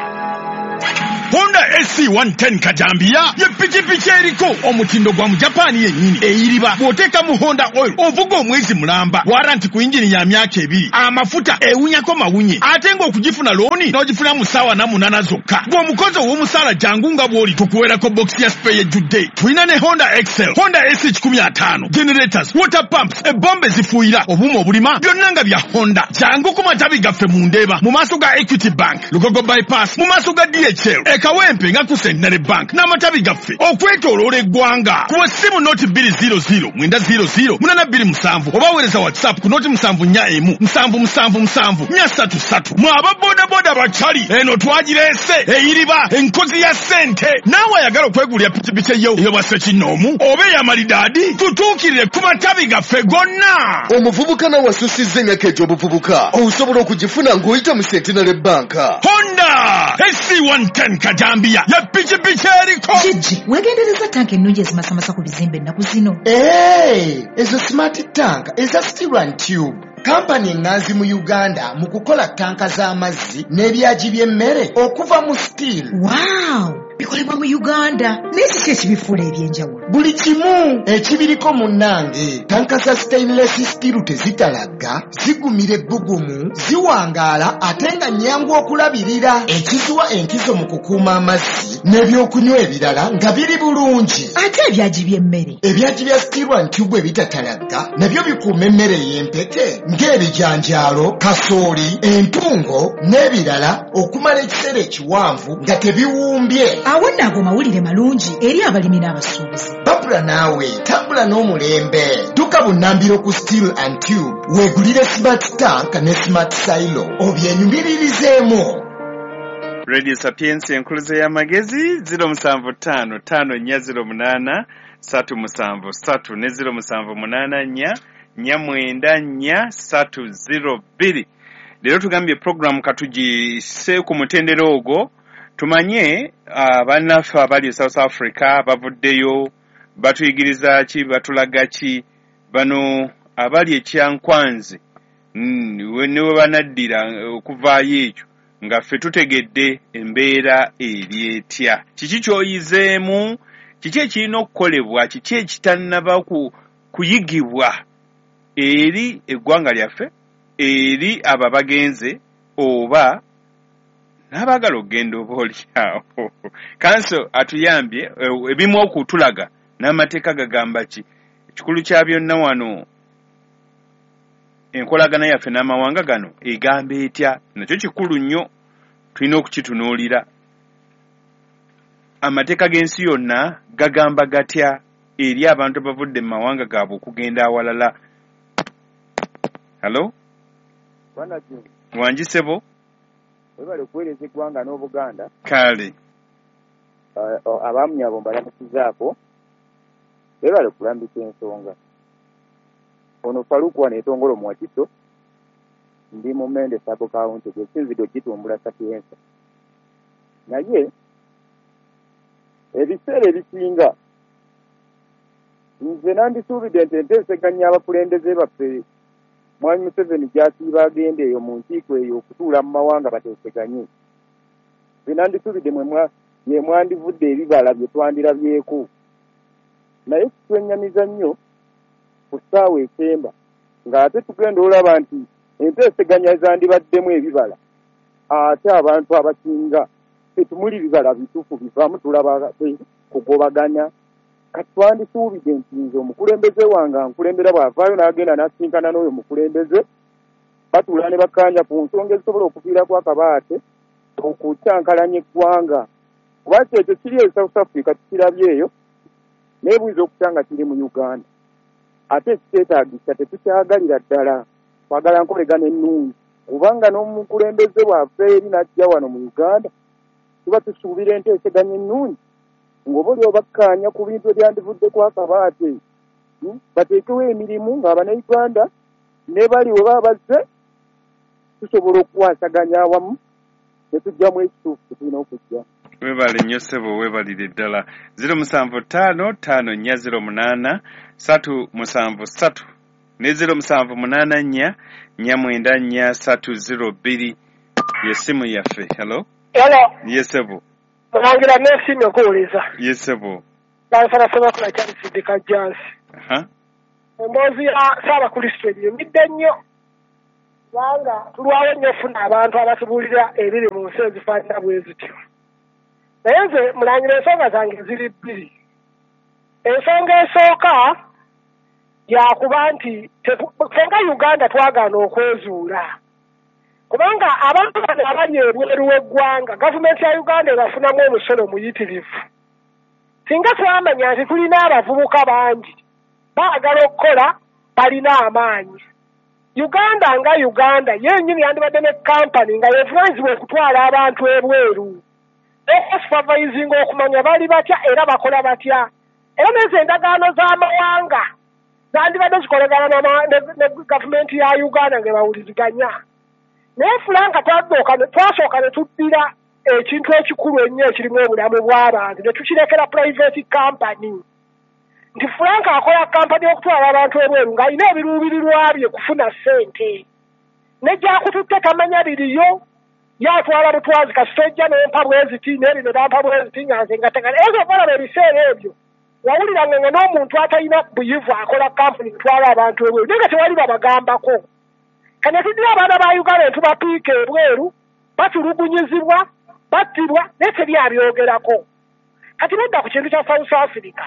Honda. Honda S C one ten Kajambiya ye pikipiki eriko omutindo gwa Mujapani yennyini eyiriba bw'oteeka mu Honda oil ovuga omwezi mulamba, waranti ku yingini ya myaka ebiri, amafuta ewunyako mawunye, ate ng'okugifuna looni n'ogifuna mu ssaawa na munaana zokka. Gw'omukozi ow'omusaala jangu nga bw'oli tukuweerako bokisi ya spare ejjudde. Tulina ne Honda Excel, Honda S C kikumi ataano, generators, water pumps, ebombe zifuuyira, obuuma obulima byonna nga bya Honda. Jangu ku matabi gaffe mu Ndeeba, mu maaso ga Equity Bank, Lugogo Bypass, mu maaso ga D H L, e Kawempe nga ku Centenary Bank n'amatabi gaffe okwetooloola eggwanga. Kuba essimu noti bbiri zero zero mwenda zero zero munaana bbiri musanvu oba weereza WhatsApp ku noti musanvu nnya emu musanvu musanvu musanvu nnya ssatu ssatu. Mwe aba bodaboda bakyali eno twagireese eyiriba enkozi ya ssente. Naawe ayagala okwegulira pikipiki eyo ey'obwa ssekinnoomu oba ey'amalidaadi, tutuukirire ku matabi gaffe gonna. Omuvubuka nawe asusizza emyaka egy'obuvubuka osobola okugifuna ng'oyita mu Centenary Bank. Honda S C one ten Kajambiya ye pikipiki eriko. Gigi, weegendereza tanka ennungi ezimasamasa ku bizimbe ennaku zino. Ee, ezo smart tank eza steel and tube. Kampani eŋŋanzi mu Uganda mu kukola tanka z'amazzi n'ebyagi by'emmere okuva mu steel. Wow! Bikolebwa mu Uganda. Naye kiki ekibifuula eby'enjawulo? Buli kimu ekibiriko munnange. Tanka za stainless steel tezitalagga, zigumira ebbugumu, ziwangaala ate nga nnyangu okulabirira. Ekiziwa enkizo mu kukuuma amazzi n'ebyokunywa ebirala nga biri bulungi. Ate ebyagi by'emmere? Ebyagi bya steel and tube ebitatalagga nabyo bikuuma emmere ey'empeke ng'ebijanjaalo, kasooli, entungo n'ebirala okumala ekiseera ekiwanvu nga tebiwumbye. Awo nno ago mawulire malungi eri abalimi n'abasuubuzi. Babula naawe tambula n'omulembe. Dduka bunnambiro ku Steel and Tube weegulire smart tank ne smart silo obyenyumiririzeemu. Radio Sapiens enkuluze y'amagezi zero musanvu ttaano ttaano nnya zero munaana ssatu musanvu ssatu ne zero musanvu munaana nnya nnya mwenda nnya ssatu zero bbiri. Leero tugambye program katugisse ku mutendera ogwo tumanye bannaffe abali e South Africa bavuddeyo batuyigiriza ki, batulaga ki, bano abali e Kyankwanzi ne we banaddira okuvaayo ekyo nga ffe tutegedde embeera eri etya, kiki ky'oyizeemu, kiki ekirina okukolebwa, kiki ekitannaba kuyigibwa eri eggwanga lyaffe, eri abo abagenze oba n'abaagala okugenda oba oli awo. Kanso atuyambye ebimu okutulaga n'amateeka gagamba ki. Ekikulu kya byonna wano enkolagana yaffe n'amawanga gano egamba etya, nakyo kikulu nnyo, tulina okukitunuulira. Amateeka g'ensi yonna gagamba gatya eri abantu abavudde mu mawanga gaabwe okugenda awalala. Hello? Wangi ssebo? Webale okuweereza eggwanga n'Obuganda. Kale. Abamu abo mbalamusizaako. Webale okulambika ensonga. Ono Faruku wano etongolo mu Wakiso, ndi mu Mende Sub County, gwe sinzidde okitumbula Sapienza. Naye ebiseera ebisinga nze nandisuubidde nti enteeseganya abakulembeze baffe Mwami Museveni gy'asiiba agenda eyo mu nkiiko eyo okutuula mu mawanga bateeseganye. Nze nandisuubidde mwe mwandivudde ebibala bye twandirabyeko. Naye kitwennyamiza nnyo ku ssaawa esemba ng'ate tugenda olaba nti enteeseganya zandibaddemu ebibala, ate abantu abasinga tetumuli bibala bituufu bivaamu, tulaba kugobaganya. Kati twandisuubidde nti nze omukulembeze wange ankulembera bw'avaayo n'agenda n'asinkana n'oyo mukulembeze, batuula ne bakkaanya ku nsonga ezisobola okuviirako akabaate okukyankalanya eggwanga. Kuba ki ekyo kiri e South Africa tukirabye eyo, naye buyinza okutya nga kiri mu Uganda. Ate ekiteetaagisa tetukyagalira ddala, twagala nkolegana ennungi, kubanga n'omukulembeze bw'ava eri n'ajja wano mu Uganda tuba tusuubira enteeseganya ennungi ng'oba oli obakkaanya ku bintu ebyandivuddeko akabaate, bateekewo emirimu ng'Abannayuganda ne bali we baba bazze tusobola okukwasaganya awamu ne tuggyamu ekituufu kye tulina okuggyamu. Webale nnyo ssebo, weebalire ddala. zero musanvu ttaano ttaano nnya zero munaana ssatu musanvu ssatu ne zero musanvu munaana nnya nnya mwenda nnya ssatu zero bbiri ye ssimu yaffe. Hello? Hello. Ye ssebo. Mulangira neesiimye okuwuliza. Ye ssebo. Kansala Ssemakula Charles Kajjansi. Aha. Emboozi ya Ssaabakrisitu enyumidde nnyo, kubanga tulwawo nnyo okufuna abantu abatubuulira ebiri mu nsi ezifaanana bwe zityo. Naye nze mulangira ensonga zange ziri bbiri. Ensonga esooka yakuba nti ffe nga Uganda twagaana okwezuula, kubanga abantu bano abali ebweru w'eggwanga gavumenti ya Uganda ebafunamu omusolo muyitirivu. Singa twamanya nti tulina abavubuka bangi baagala okukola, balina amaanyi. Uganda nga Uganda yennyini yandibadde ne kampani nga yevunaanyizibwa okutwala abantu ebweru, okusupervisinga okumanya bali batya era bakola batya. Era n'ezo endagaano z'amawanga zandibadde zikolagana ne gavumenti ya Uganda nga bawuliziganya. Naye Franka twasooka ne tuddira ekintu ekikulu ennyo ekirimu obulamu bw'abantu ne tukirekera private company. Nti Franka akola kampani okutwala abantu ebweru ng'alina ebiruubirirwa bye kufuna ssente, ne gy'akututte tamanya biriyo, yatwala butwazi kasita ojja n'empa bweziti n'ebino n'ampa bweziti nga nze nga tegala. Ezo balaba ebiseera ebyo wawuliranga nga n'omuntu atalina buyivu akola kampani kutwala abantu ebweru, naye nga tewali babagambako. Kane tuddira abaana ba Uganda ne tubapiika ebweru, batulugunyizibwa, battibwa, naye teri abyogerako. Kati nedda ku kintu kya South Africa.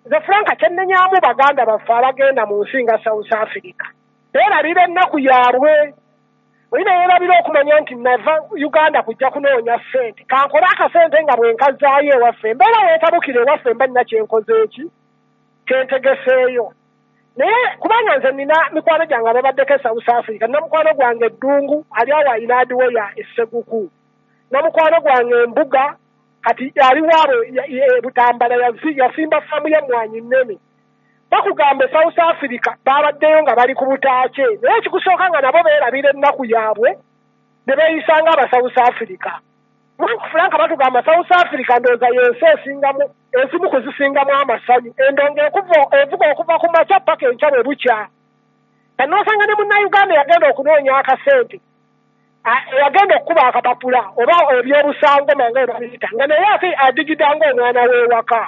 Nze Franka kyennenyamu baganda baffe abagenda mu nsi nga South Africa, beerabira ennaku yaabwe. Olina yeerabira okumanya nti nava Uganda kujja kunoonya ssente, kankole akasente nga bwe nkazaayo ewaffe, embeera weetabukira ewaffe mba nina kyenkoze eki kyentegeseeyo. Naye kubanga nze nina mikwano gyange ababaddeko e South Africa, nina mukwano gwange Eddungu ali awo alina adiweya e Sseguku, na mukwano gwange Embuga kati ali waabwe Butambala yasimba faamu y'emmwanyi nnene. Bakugamba e South Africa babaddeyo nga bali ku butaake, naye ekikusooka nga nabo beerabira ennaku yaabwe ne beeyisa nga aba South Africa. Franka batugamba South Africa ndowooza y'ensi esingamu ezimu ku zisingamu amasanyu, endongo evuga okuva ku makya paka enkya bwe bukya. Kanoosanga ne Munnayuganda yagenda okunoonya akasente, yagenda okukuba akapapula oba ebyobusangoma nga bwe babiyita, nga naye ate adigida ng'omwana w'ewaka.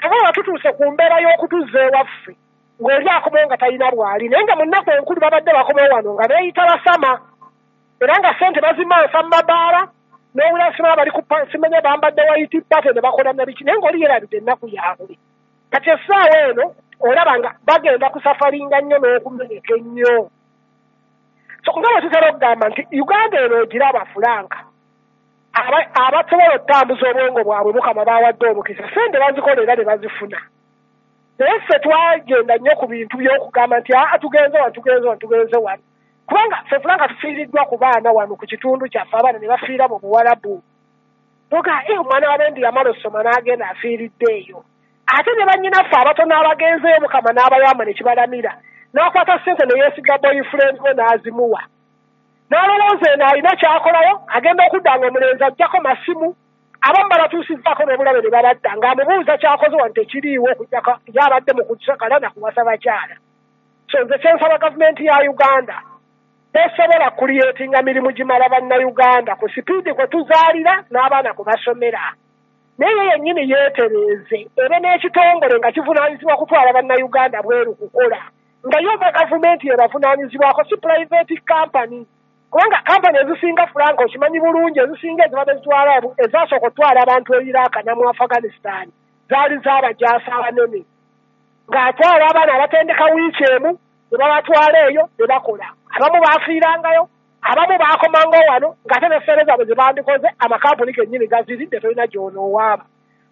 Oba tutuuse ku mbeera y'okutuzza ewaffe ng'oli akomawo nga talina bw'ali, naye nga mu nnaku enkulu babadde bakomawo wano nga beeyita basama, era nga ssente bazimansa mu mabaala, n'owulira simanya bali ku simanya bambadde white party ne bakola na biki, naye ng'oli yeerabidde ennaku yaabwe. Kati essaawa eno olaba nga bagenda kusafaringa nnyo n'okumeneka ennyo. So nga bwe tutera okugamba nti Uganda eno ogiraba Franka, abasobola okutambuza obwongo bwabwe Mukama bawadde omukisa, ssente bazikola era ne bazifuna. Naye ffe twagenda nnyo ku bintu by'okugamba nti aa tugenze wano tugenze wano tugenze wano, kubanga ffe Franka tufiiriddwa ku baana wano ku kitundu kyaffe, abaana ne bafiira mu Buwalabu. Toga eh omwana w'abendi yamala ossoma n'agenda afiiridde eyo. Ate ne bannyinaffe abatono abagenzeeyo Mukama n'abayamba ne kibalamira, n'akwata ssente ne yeesiga boyfriend we n'azimuwa. N'alowooza eno alina ky'akolayo, agenda okudda nga omulenzi aggyako masimu, abamu balatuusizzaako n'obulabe ne babadda, ng'amubuuza ky'akoze wano tekiriiwo okuggyako yabadde mu kusakala na kuwasa bakyala. So nze kye nsaba gavumenti ya Uganda, tesobola kuliyeetinga mirimu gimala Bannayuganda ku sipiidi kwe tuzaalira n'abaana kwe basomera. Naye ye yennyini yeetereeze, ebe n'ekitongole nga kivunaanyizibwa kutwala Bannayuganda bweru kukola, nga yo gavumenti ebavunaanyizibwako, si private company. Kubanga kampani ezisinga Franka okimanyi bulungi, ezisinga ezibadde zitwala ezasooka okutwala abantu e Iraq ne mu Afghanistan zaali z'abajaasi abanene, ng'atwala abaana abatendeka wiiki emu ne babatwala eyo ne bakola. Abamu baafiirangayo, abamu baakomangawo wano ng'ate ne ssente zaabwe ze bandikoze amakampuni gennyini gaziridde, tolina gy'onoowaaba.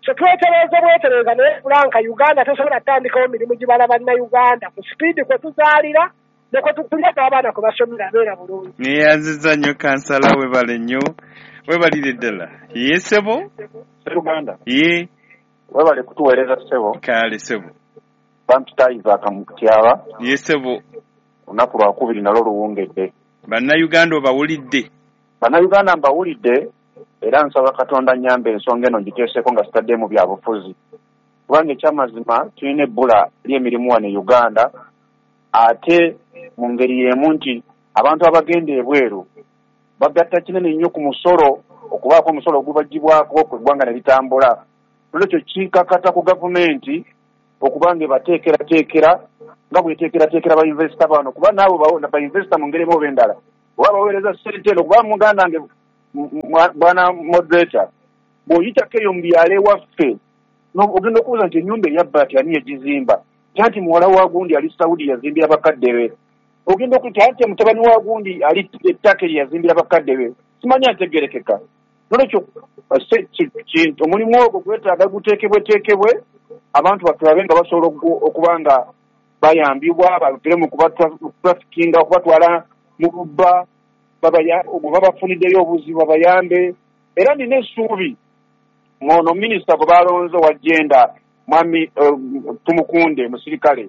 So twetereeze bwetereeza, naye Franka Uganda tesobola kutandikawo mirimu gibala Bannayuganda ku sipiidi kwe tuzaalira ne kwe tukulira n'abaana kwe basomera beera bulungi. Neeyanzizza nnyo kansala, weebale nnyo, weebalire ddala. Ye ssebo? Uganda. Ye. Weebale kutuweereza ssebo. Kale ssebo. Bampita Isaac Mutyaba. Ye ssebo. Olunaku lwakubiri nalwo luwungedde. Bannayuganda obawulidde? Bannayuganda mbawulidde, era nsaba Katonda nnyambe ensonga eno ngiteeseeko nga sitaddemu bya bufuzi. Kubanga ekyamazima tulina ebbula ly'emirimu wano e Uganda, ate mu ngeri y'emu nti abantu abagenda ebweru bagatta kinene nnyo ku musolo okubaako omusolo ogubagibwako ku ggwanga ne litambula. Nolwekyo kikakata ku gavumenti okuba nga ebateekerateekera nga bweteekerateekera ba investor bano, kuba naabo ba investor mu ngeri emu oba endala oba baweereza ssente eno. Kuba muganda wange bwana moderator, bw'oyitako eyo mu byalo ewaffe ogenda okubuuza nti ennyumba eyabbaati ani yagizimba, nti muwala wa gundi ali Saudi yazimbira bakadde be, ogenda okuyita nti mutabani wa gundi ali ettaka eryo yazimbira bakadde be, simanyi antegerekeka. Nolwekyo omulimu ogwo gwetaaga guteekebweteekebwe, abantu baffe babe nga basobola okuba nga bayambibwa, bavire mu kubatrafikinga, okubatwala mu bubba, babafuniddeyo obuzibu babayambe. Era nina essuubi ng'ono minisita gwe balonze wa gender, mwami Tumukunde musirikale,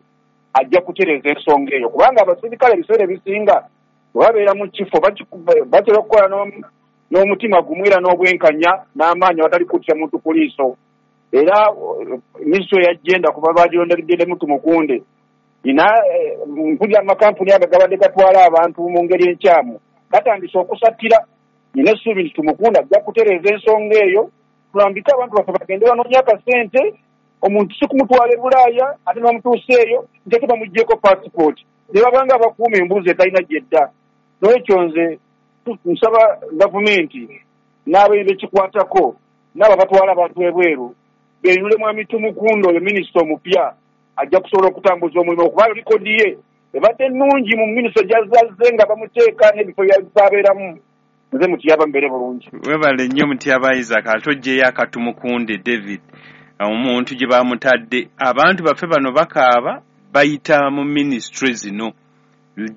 ajja kutereeza ensonga eyo, kubanga abasirikale ebiseera ebisinga bwe babeera mu kifo batera okukola n'omutima gumu era n'obwenkanya n'amaanyi awatali kutya muntu ku liiso. Era minisitule ya gender kuba bagirondeddeddemu Tumukunde, nina mpulira amakampuni ago gabadde gatwala abantu mu ngeri enkyamu gatandise okusattira. Nina essuubi nti Tumukunde ajja kutereeza ensonga eyo, tulambike abantu baffe bagende banoonye akasente. Omuntu si kumutwala e Bulaaya ate ne bamutuusa eyo nti ate bamuggyeko paasipooti ne babanga abakuuma embuzi etalina gyedda. N'olwekyo nze nsaba gavumenti n'abekikwatako n'abo abatwala abantu ebweru beenyule mwami Tumukunde oyo minisita omupya, ajja kusobola okutambuza omulimu, okuba likodi ye ebadde nnungi mu minisita gy'azazze nga bamuteeka n'ebifo byabeeramu. Nze Mutyaba mbeere bulungi. Webale nnyo Mutyaba Isaac, ate oggyeyo akatumukunde David, omuntu gye bamutadde. Abantu baffe bano bakaaba bayita mu minisitule zino,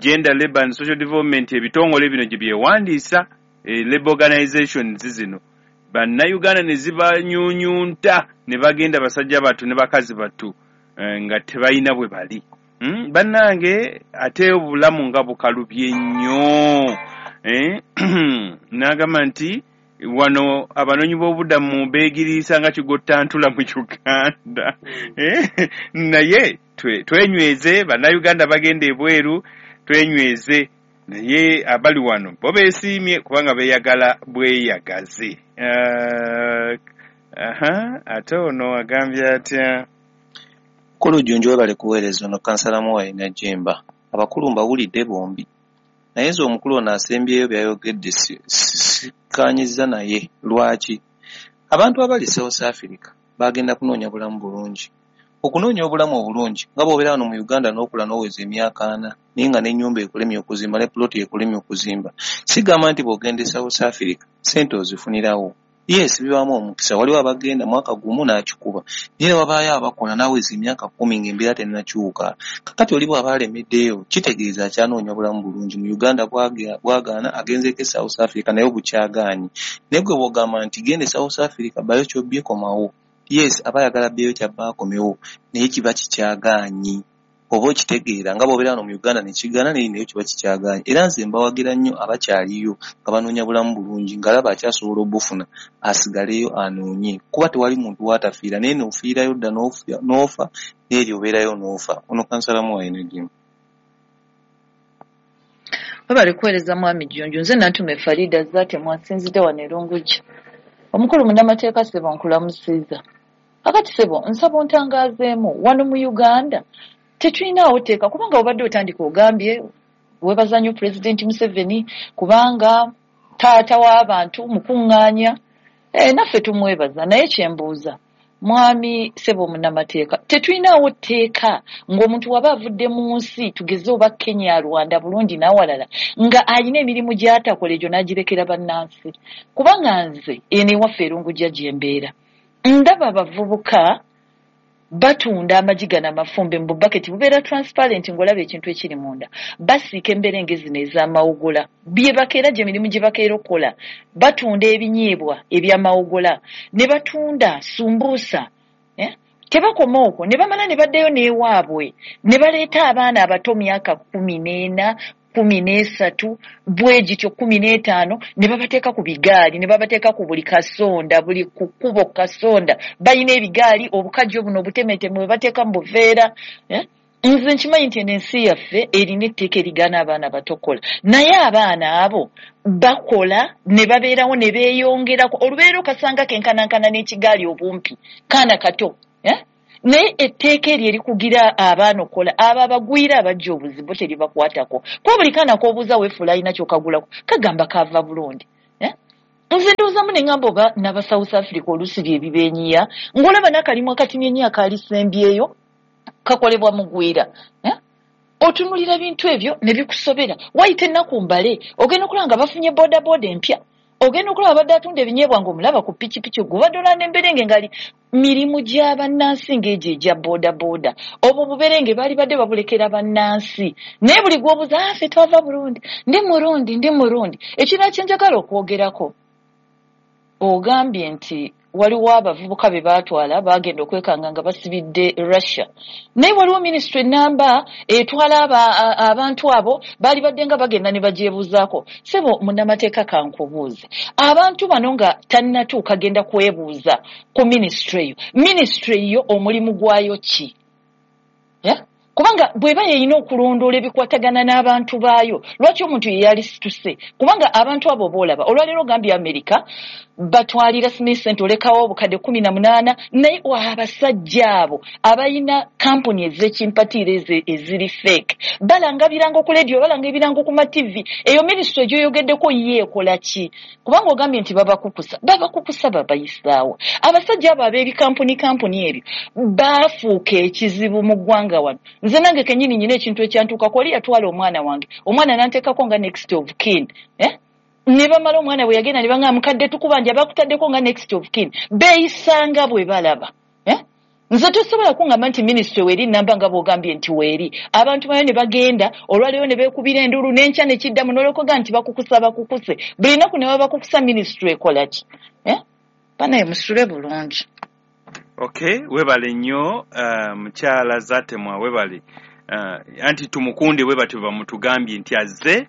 gender, labour and social development, ebitongole bino gye byewandiisa, labour organizations zino, bannayuganda ne zibanyuunyunta ne bagenda basajja battu ne bakazi battu nga tebalina bwe bali. Bannange ate obulamu nga bukalubye nnyo. N'agamba nti wano abanoonyi b'obuddamu beegiriisa nga kigottantula mu Uganda. Naye twenyweze, bannayuganda bagenda ebweru, twenyweze, naye abali wano bo beesiimye kubanga beeyagala bweyagaze. Ate ono agambye atya? Mukulu Jjunju webale kuweereza. Ono kansala Muwayi Najjemba. Abakulu mbawulidde bombi, naye nze omukulu ono asembyeyo by'ayogedde sikkaanyizza naye. Lwaki? Abantu abali South Africa bagenda kunoonya bulamu bulungi. Okunoonya obulamu obulungi nga bw'obeera wano mu Uganda n'okula n'oweza emyaka ana naye nga n'ennyumba ekulemye okuzimba ne puloti ekulemye okuzimba. Sigamba nti bw'ogenda e South Africa ssente ozifunirawo. Yes, bibaamu omukisa, waliwo abagenda mwaka gumu n'akikuba, naye wabaayo abakola n'aweza emyaka kkumi ng'embeera tennakyuka. Kakati oli bw'aba alemeddeyo kitegeeza akyanoonya bulamu bulungi. Mu Uganda bwagaana agenzeeko e South Africa naye bukyagaanyi. Naye gwe bw'ogamba nti genda e South Africa bayo ky'obbye komawo, yes, aba ayagala abbeeyo ky'abba akomewo, naye kiba kikyagaanyi. Oba okitegeera nga bw'obeera wano mu Uganda ne kigaana naye nayo kiba kikyagaanyi. Era nze mbawagira nnyo abakyaliyo nga banoonya bulamu bulungi, ng'alaba akyasobola obufuna asigaleyo anoonye, kuba tewali muntu w'atafiira, naye n'ofiirayo dda n'ofa n'eri obeerayo n'ofa. Ono kansala Muwayi Najjemba. Webale kuweereza mwami Jjunju. Nze Nantume Farida Zaate mwasinzidde wano e Lungujja. Omukulu munnamateeka ssebo nkulamusiza. Akati ssebo nsaba ontangaazeemu, wano mu Uganda tetulinaawo tteeka, kubanga obadde otandika ogambye weebaza nnyo Pulezidenti Museveni kubanga taata w'abantu mukuŋŋaanya, e, naffe tumwebaza. Naye kyembuuza mwami ssebo munnamateeka, tetulinaawo tteeka ng'omuntu waba avudde mu nsi tugeze oba Kenya, Rwanda, Burundi n'awalala nga alina emirimu gy'atakola egyo n'agirekera bannansi? Kubanga nze eno ewaffe e Lungujja gye mbeera ndaba abavubuka batunda amagi gano amafumbe mu bubaketi bubeera transparent ng'olaba ekintu ekiri munda, basiika emberenge zino ez'amawogola bye bakeera gye mirimu gye bakeera okukola, batunda ebinyeebwa eby'amawogola ne batunda sumbuusa, eh? Tebakoma okwo ne bamala ne baddayo n'ewaabwe ne baleeta abaana abato myaka kkumi n'ena kkumi n'esatu bwe gityo kkumi n'etaano ne babateeka ku bigaali ne babateeka ku buli kasonda, buli ku kkubo kasonda balina ebigaali, obukajjo buno obutemeteme bwe bateeka mu buveera, eh? Nze nkimanyi nti eno ensi yaffe erina etteeka erigaana abaana bato okukola, naye abaana abo bakola ne babeerawo ne beeyongerako. Olubeerera okasanga kenkanankana n'ekigaali obumpi, kaana kato, eh? Naye etteeka eryo erikugira abaana okukola, abo abagwira abajja obuzibu teribakwatako, kuba buli kaana k'obuuza weefuula alina ky'okagulako kagamba kava Burundi, eh? Nze ndowoozamu ne ŋŋamba oba n'aba South Africa oluusi bye bibeenyiya, ng'olaba n'akalimu akatini ennyo akaalisembyeyo kakolebwa mugwira, eh? Otunulira bintu ebyo ne bikusobera. Wayita ennaku mbale, ogenda okulaba nga bafunye boodabooda empya, ogenda okulaba abadde atunda ebinyeebwa ng'omulaba ku pikipiki, gubadde olaba n'emberenge ngali mirimu gya bannansi ng'egyo egya boodabooda. Obwo buberenge baali badde babulekera bannansi, naye buli gw'obuuza, ah, ffe twava Burundi, ndi Murundi, ndi Murundi. Ekirala kye njagala okwogerako, ogambye nti waliwo abavubuka be baatwala baagenda okwekanga nga basibidde Russia, naye waliwo minisitule ennamba etwala abantu abo baali badde nga bagenda ne bagyebuuzaako. Ssebo munnamateeka kankubuuze, abantu bano nga tannatuuka genda kwebuuza ku minisitule eyo, minisitule eyo omulimu gwayo ki? Yeah? Kubanga bw'eba yeyina okulondoola ebikwatagana n'abantu baayo, lwaki omuntu ye yalisituse? Kubanga abantu abo boolaba olwaleero ogambye Amerika batwalira Smith Center olekawo obukadde kumi na munaana, naye abasajja abo abalina kampuni ez'ekimpatiira eziri fake balanga birango ku radio, balanga ebirango ku ma T V. Eyo minisitule gy'oyogeddeko ye ekola ki? Kubanga ogambye nti babakukusa, babakukusa babayisaawo. Abasajja abo ab'ebikampuni kampuni ebyo baafuuka ekizibu mu ggwanga wano. Nze nange kennyini nnyina ekintu ekyantuukako, oli yatwala omwana wange, omwana n'anteekako nga next of kin, eh? Ne bamala omwana bwe yagenda ne bangamba mukadde tukubanja bakutaddeko nga next of kin. Beeyisanga bwe balaba, eh? Nze tosobola kungamba nti minisitule weeri namba nga bw'ogambye nti weeri. Abantu bayo ne bagenda olwaleero ne beekubira enduulu n'enkya ne kiddamu n'olwokuga nti bakukusa bakukuse. Buli nnaku ne babakukusa minisitule ekola ki? Eh? Banaye musule bulungi. Okay, webale nnyo uh, mukyala Zatemwa, webale. Uh, anti tumukunde bwe batyo bamutugambye nti azze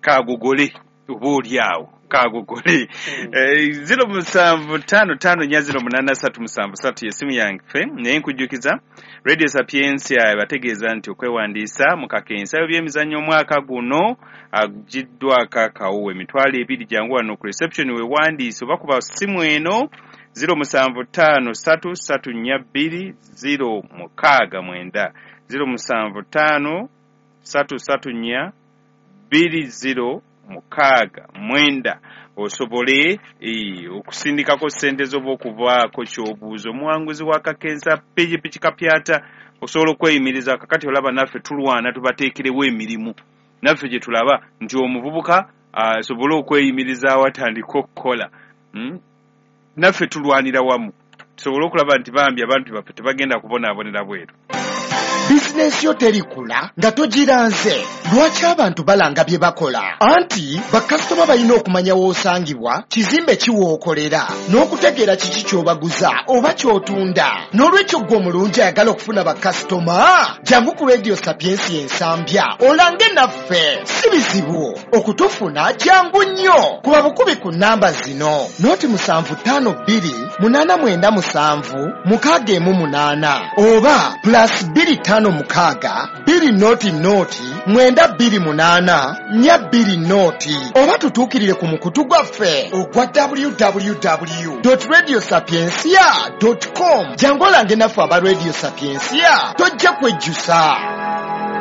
kagogole oba oli awo kagogole. Mm. Zero musanvu tano tano nnya zero munaana ssatu musanvu ssatu y'essimu yange, naye nkujjukiza Radio Sapientia ebategeeza nti okwewandiisa mu kakensa by'emizannyo omwaka guno agiddwako akawuwo emitwalo ebiri. Jangu wano ku reception weewandiise oba kuba ssimu eno zero musanvu ttaano ssatu ssatu nnya bbiri zero mukaaga mwenda, zero musanvu ttaano ssatu ssatu nnya bbiri zero mukaaga mwenda, osobole okusindikako ssente z'oba okuvaako ky'obuuza. Omuwanguzi wa kakensa pikipiki kapyata osobola okweyimiriza. Kakati olaba naffe tulwana tubateekerewo emirimu, naffe gye tulaba nti omuvubuka asobole okweyimirizaawo atandike okukola. Hmm? Naffe tulwanira wamu tusobole okulaba nti bambi abantu baffe tebagenda kubonaabonera bweru. Bizinensi yo terikula nga togiranze. Lwaki abantu balanga bye bakola? Anti bakasitoma balina okumanya w'osangibwa, kizimbe ki w'okolera, n'okutegeera kiki ky'obaguza oba ky'otunda. N'olwekyo ggwe omulungi ayagala okufuna bakasitoma, jangu ku Radio Sapientia Ensambya olange naffe. Si bizibu okutufuna, jangu nnyo. Kuba bukubi ku nnamba zino: noti musanvu ttaano bbiri munaana mwenda musanvu mukaaga emu munaana oba plus bbiri ttaano mukaaga bbiri noti noti mwenda bbiri munaana nnya bbiri noti, oba tutuukirire ku mukutu gwaffe ogwa w w w dot radio sapientia dot com. Jangu olange naffe aba Radio Sapientia, tojja kwejjusa.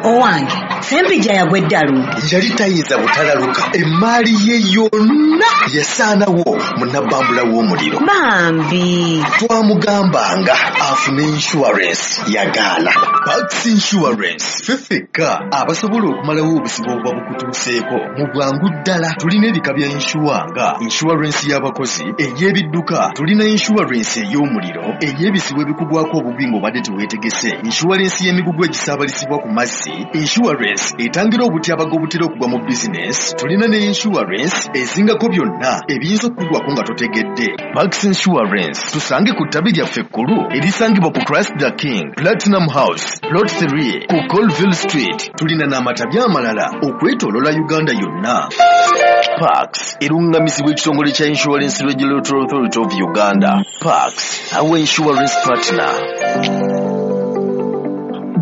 Owange Ssempijja yagwa eddalu. Yali tayinza butalaluka, emmaali ye yonna yasaanawo mu nabbambula w'omuliro. Bambi twamugambanga afune insurance, yagaana. Pax Insurance ffe ffekka abasobola okumalawo obuzibu obuba bukutuuseeko mu bwangu ddala. Tulina ebika bya insure nga insurance y'abakozi, ey'ebidduka, tulina insurance ey'omuliro, ey'ebizibu ebikugwako obubi ng'obadde teweetegese, insurance y'emigugu egisaabalizibwa ku mazzi, insurance etangira obutyabaga obutera okugwa mu bizinesi, tulina ne insurance ezingako byonna ebiyinza okukugwako nga totegedde. Pax Insurance tusange ku ttabi lyaffe ekkulu erisangibwa ku Christ the King Platinum House Plot three ku Colville Street. Tulina n'amatabi amalala okwetooloola Uganda yonna. Pax erungamizibwa ekitongole kya Insurance Regulatory Authority of Uganda. Pax, our insurance partner.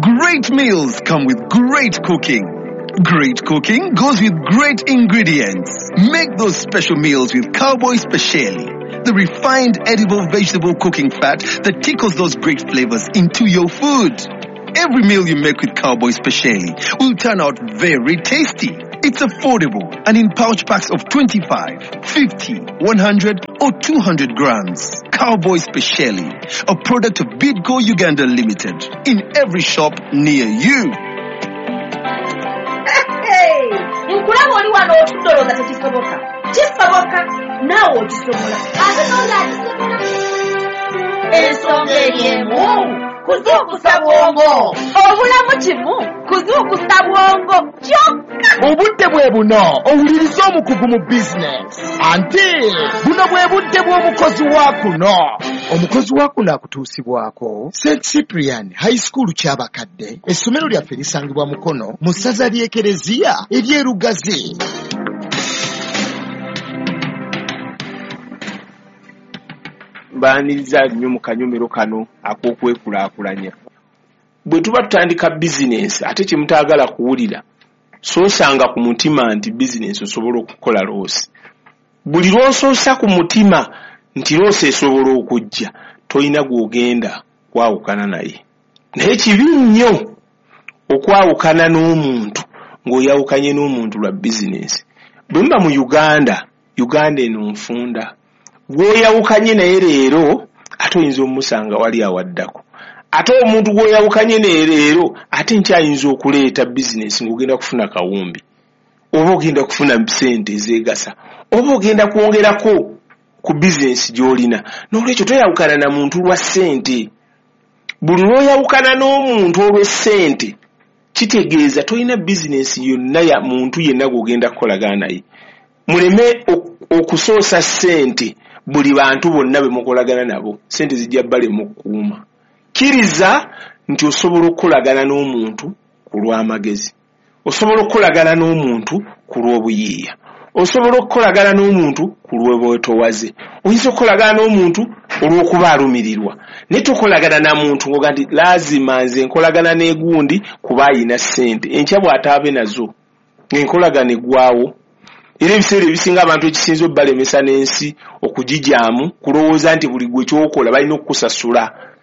Great meals come with great cooking. Great cooking goes with great ingredients. Make those special meals with Cowboy Speciali, the refined edible vegetable cooking fat that tickles those great flavors into your food. Every meal you make with Cowboy Speciali will turn out very tasty. It's affordable and in pouch packs of twenty-five, fifty, one hundred or two hundred grams. Cowboy Speciali, a product of Bidco Uganda Limited, in every shop near you. Hey, nkulaba oli wano otudde olowooza tekisoboka. Kisoboka, naawe okisobola. Ate n'oli akisobola. Ensonga eri emu, kuzuukusa bwongo. Obulamu kimu, kuzuukusa bwongo kyokka. Obudde bwe buno owuliriza omukugu mu bizinesi. Anti buno bwe budde bw'omukozi wa kuno. Omukozi wa kuno akutuusibwako Saint Cyprian High School Kyabakadde. Essomero lyaffe lisangibwa Mukono mu ssaza ly'Ekereziya ery'e Lugazi. Mbaaniriza nnyo mu kanyomero kano ak'okwekulaakulanya. Bwe tuba tutandika bizinensi ate kye mutaagala kuwulira, soosanga ku mutima nti bizinensi osobola okukola loosi. Buli lw'osoosa ku mutima nti loosi esobola okujja, tolina gw'ogenda kwawukana naye. Naye kibi nnyo okwawukana n'omuntu ng'oyawukanye n'omuntu lwa bizinensi. Bwe muba mu Uganda, Uganda eno nfunda. Gw'oyawukanye naye leero ate oyinza omusanga wali awaddako. Ate omuntu gw'oyawukanye naye leero ate nkyayinza okuleeta bizinensi ng'ogenda kufuna kawumbi, oba ogenda kufuna ssente ezeegasa, oba ogenda kwongerako ku bizinensi gy'olina. N'olwekyo toyawukana na muntu lwa ssente. Buli lw'oyawukana n'omuntu olw'essente kitegeeza tolina bizinensi yonna ya muntu yenna gw'ogenda kukolagana naye. Muleme okusoosa ssente buli bantu bonna be mukolagana nabo, ssente zijja balema okukuuma. Kkiriza nti osobola okukolagana n'omuntu ku lw'amagezi, osobola okukolagana n'omuntu ku lw'obuyiiya, osobola okukolagana n'omuntu ku lw'obwetoowaze, oyinza okukolagana n'omuntu olw'okuba alumirirwa. Naye tokolagana na muntu ng'oga nti laazima nze nkolagana n'egundi kuba ayina ssente, enkya bw'ataabe nazo ng'enkolagana eggwawo. Era ebiseera ebisinga abantu ekisinza obbalemesa n'ensi okugijaamu kulowooza nti buli gwe ky'okola balina okukusasula.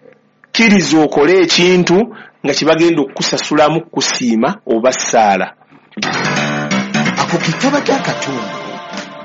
Kkiriza okole ekintu nga kye bagenda okukusasulamu kukusiima oba ssaala. Ako ke kabadde akatundu.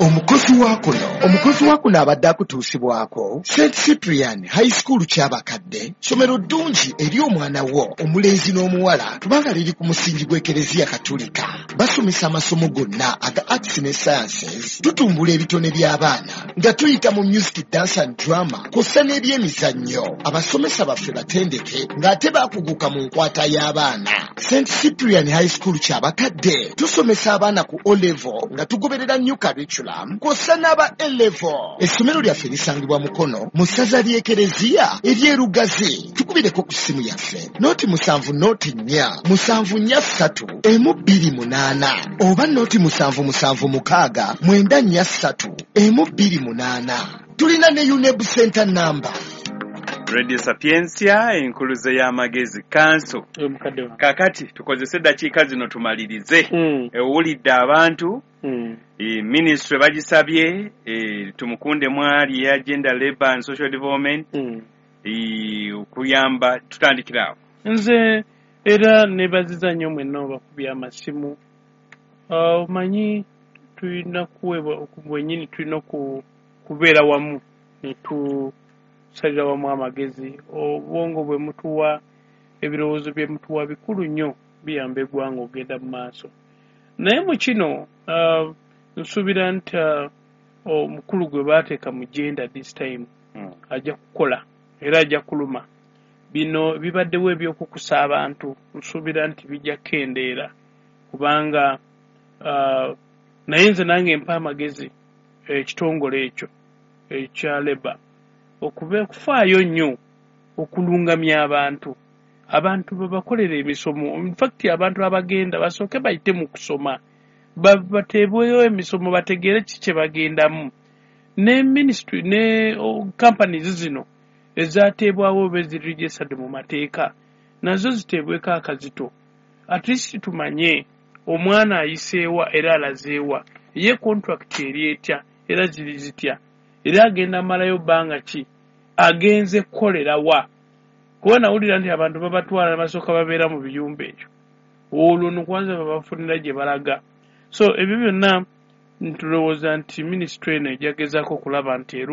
Omukozi wa kuno omukozi wa kuno abadde akutuusibwako Saint Cyprian High School Kyabakadde, ssomero ddungi eri omwana wo omulenzi n'omuwala kubanga liri ku musingi gw'Ekereziya Katulika. Basomesa amasomo gonna aga arts ne sciences. Tutumbula ebitone by'abaana nga tuyita mu music, dance and drama kw'ossa n'ebyemizannyo. Abasomesa baffe batendeke ng'ate baakuguka mu nkwata y'abaana. Saint Cyprian High School Kyabakadde tusomesa abaana ku O level nga tugoberera new curriculum kw'ossa n'aba A level. Essomero lyaffe lisangibwa Mukono mu ssaza ly'Ekereziya ery'e Lugazi. Tukubireko ku ssimu yaffe noti musanvu noti nnya musanvu nnya ssatu emu bbiri munaana oba noti musanvu musanvu mukaaga mwenda nnya ssatu emu bbiri munaana. Tulina ne UNEB Center number. Radio Sapientia, enkuluze y'amagezi kanso. Kakati tukozese eddakiika zino tumalirize. Owulidde abantu, Mm. e, ministry bagisabye e, tumukunde mwali ya gender, labor and social development Mm. e, okuyamba. Tutandikira awo. Nze era nebaziza nnyo mwenna obakubya amasimu. Omanyi tulina kuweebwa bwennyini, tulina ku- kubeera wamu ne tusalira wamu amagezi. Obwongo bwe mutuwa, ebirowoozo bye mutuwa bikulu nnyo, biyamba eggwanga okugenda mu maaso. Naye mu kino uh, nsuubira nti uh, omukulu gwe baateeka mu gender this time ajja kukola era ajja kuluma. Bino bibaddewo ebyokukusa abantu, nsuubira nti bijja kukendeera kubanga uh, naye nze nange mpa amagezi ekitongole ekyo ekya labour okube okufaayo nnyo okulungamya abantu, abantu babakolera emisomo. Infact abantu abagenda basooke bayite mu kusoma, Ba- bateebweyo emisomo bategeere ki kye bagendamu. Ne ministry ne oh, companies zino ezateebwawo oba eziri registered mu mateeka nazo ziteebweko akazito, at least tumanye omwana ayiseewa era alazeewa, ye contract eri etya era ziri zitya, era agenda amalayo bbanga ki, agenze kukolera wa. Kuba nawulira nti abantu babatwala ne basooka babeera mu biyumba ekyo, olwo no kwanza babafunira gye balaga. So ebyo byonna ntulowooza nti minisitule eno ejja gezaako okulaba nti eru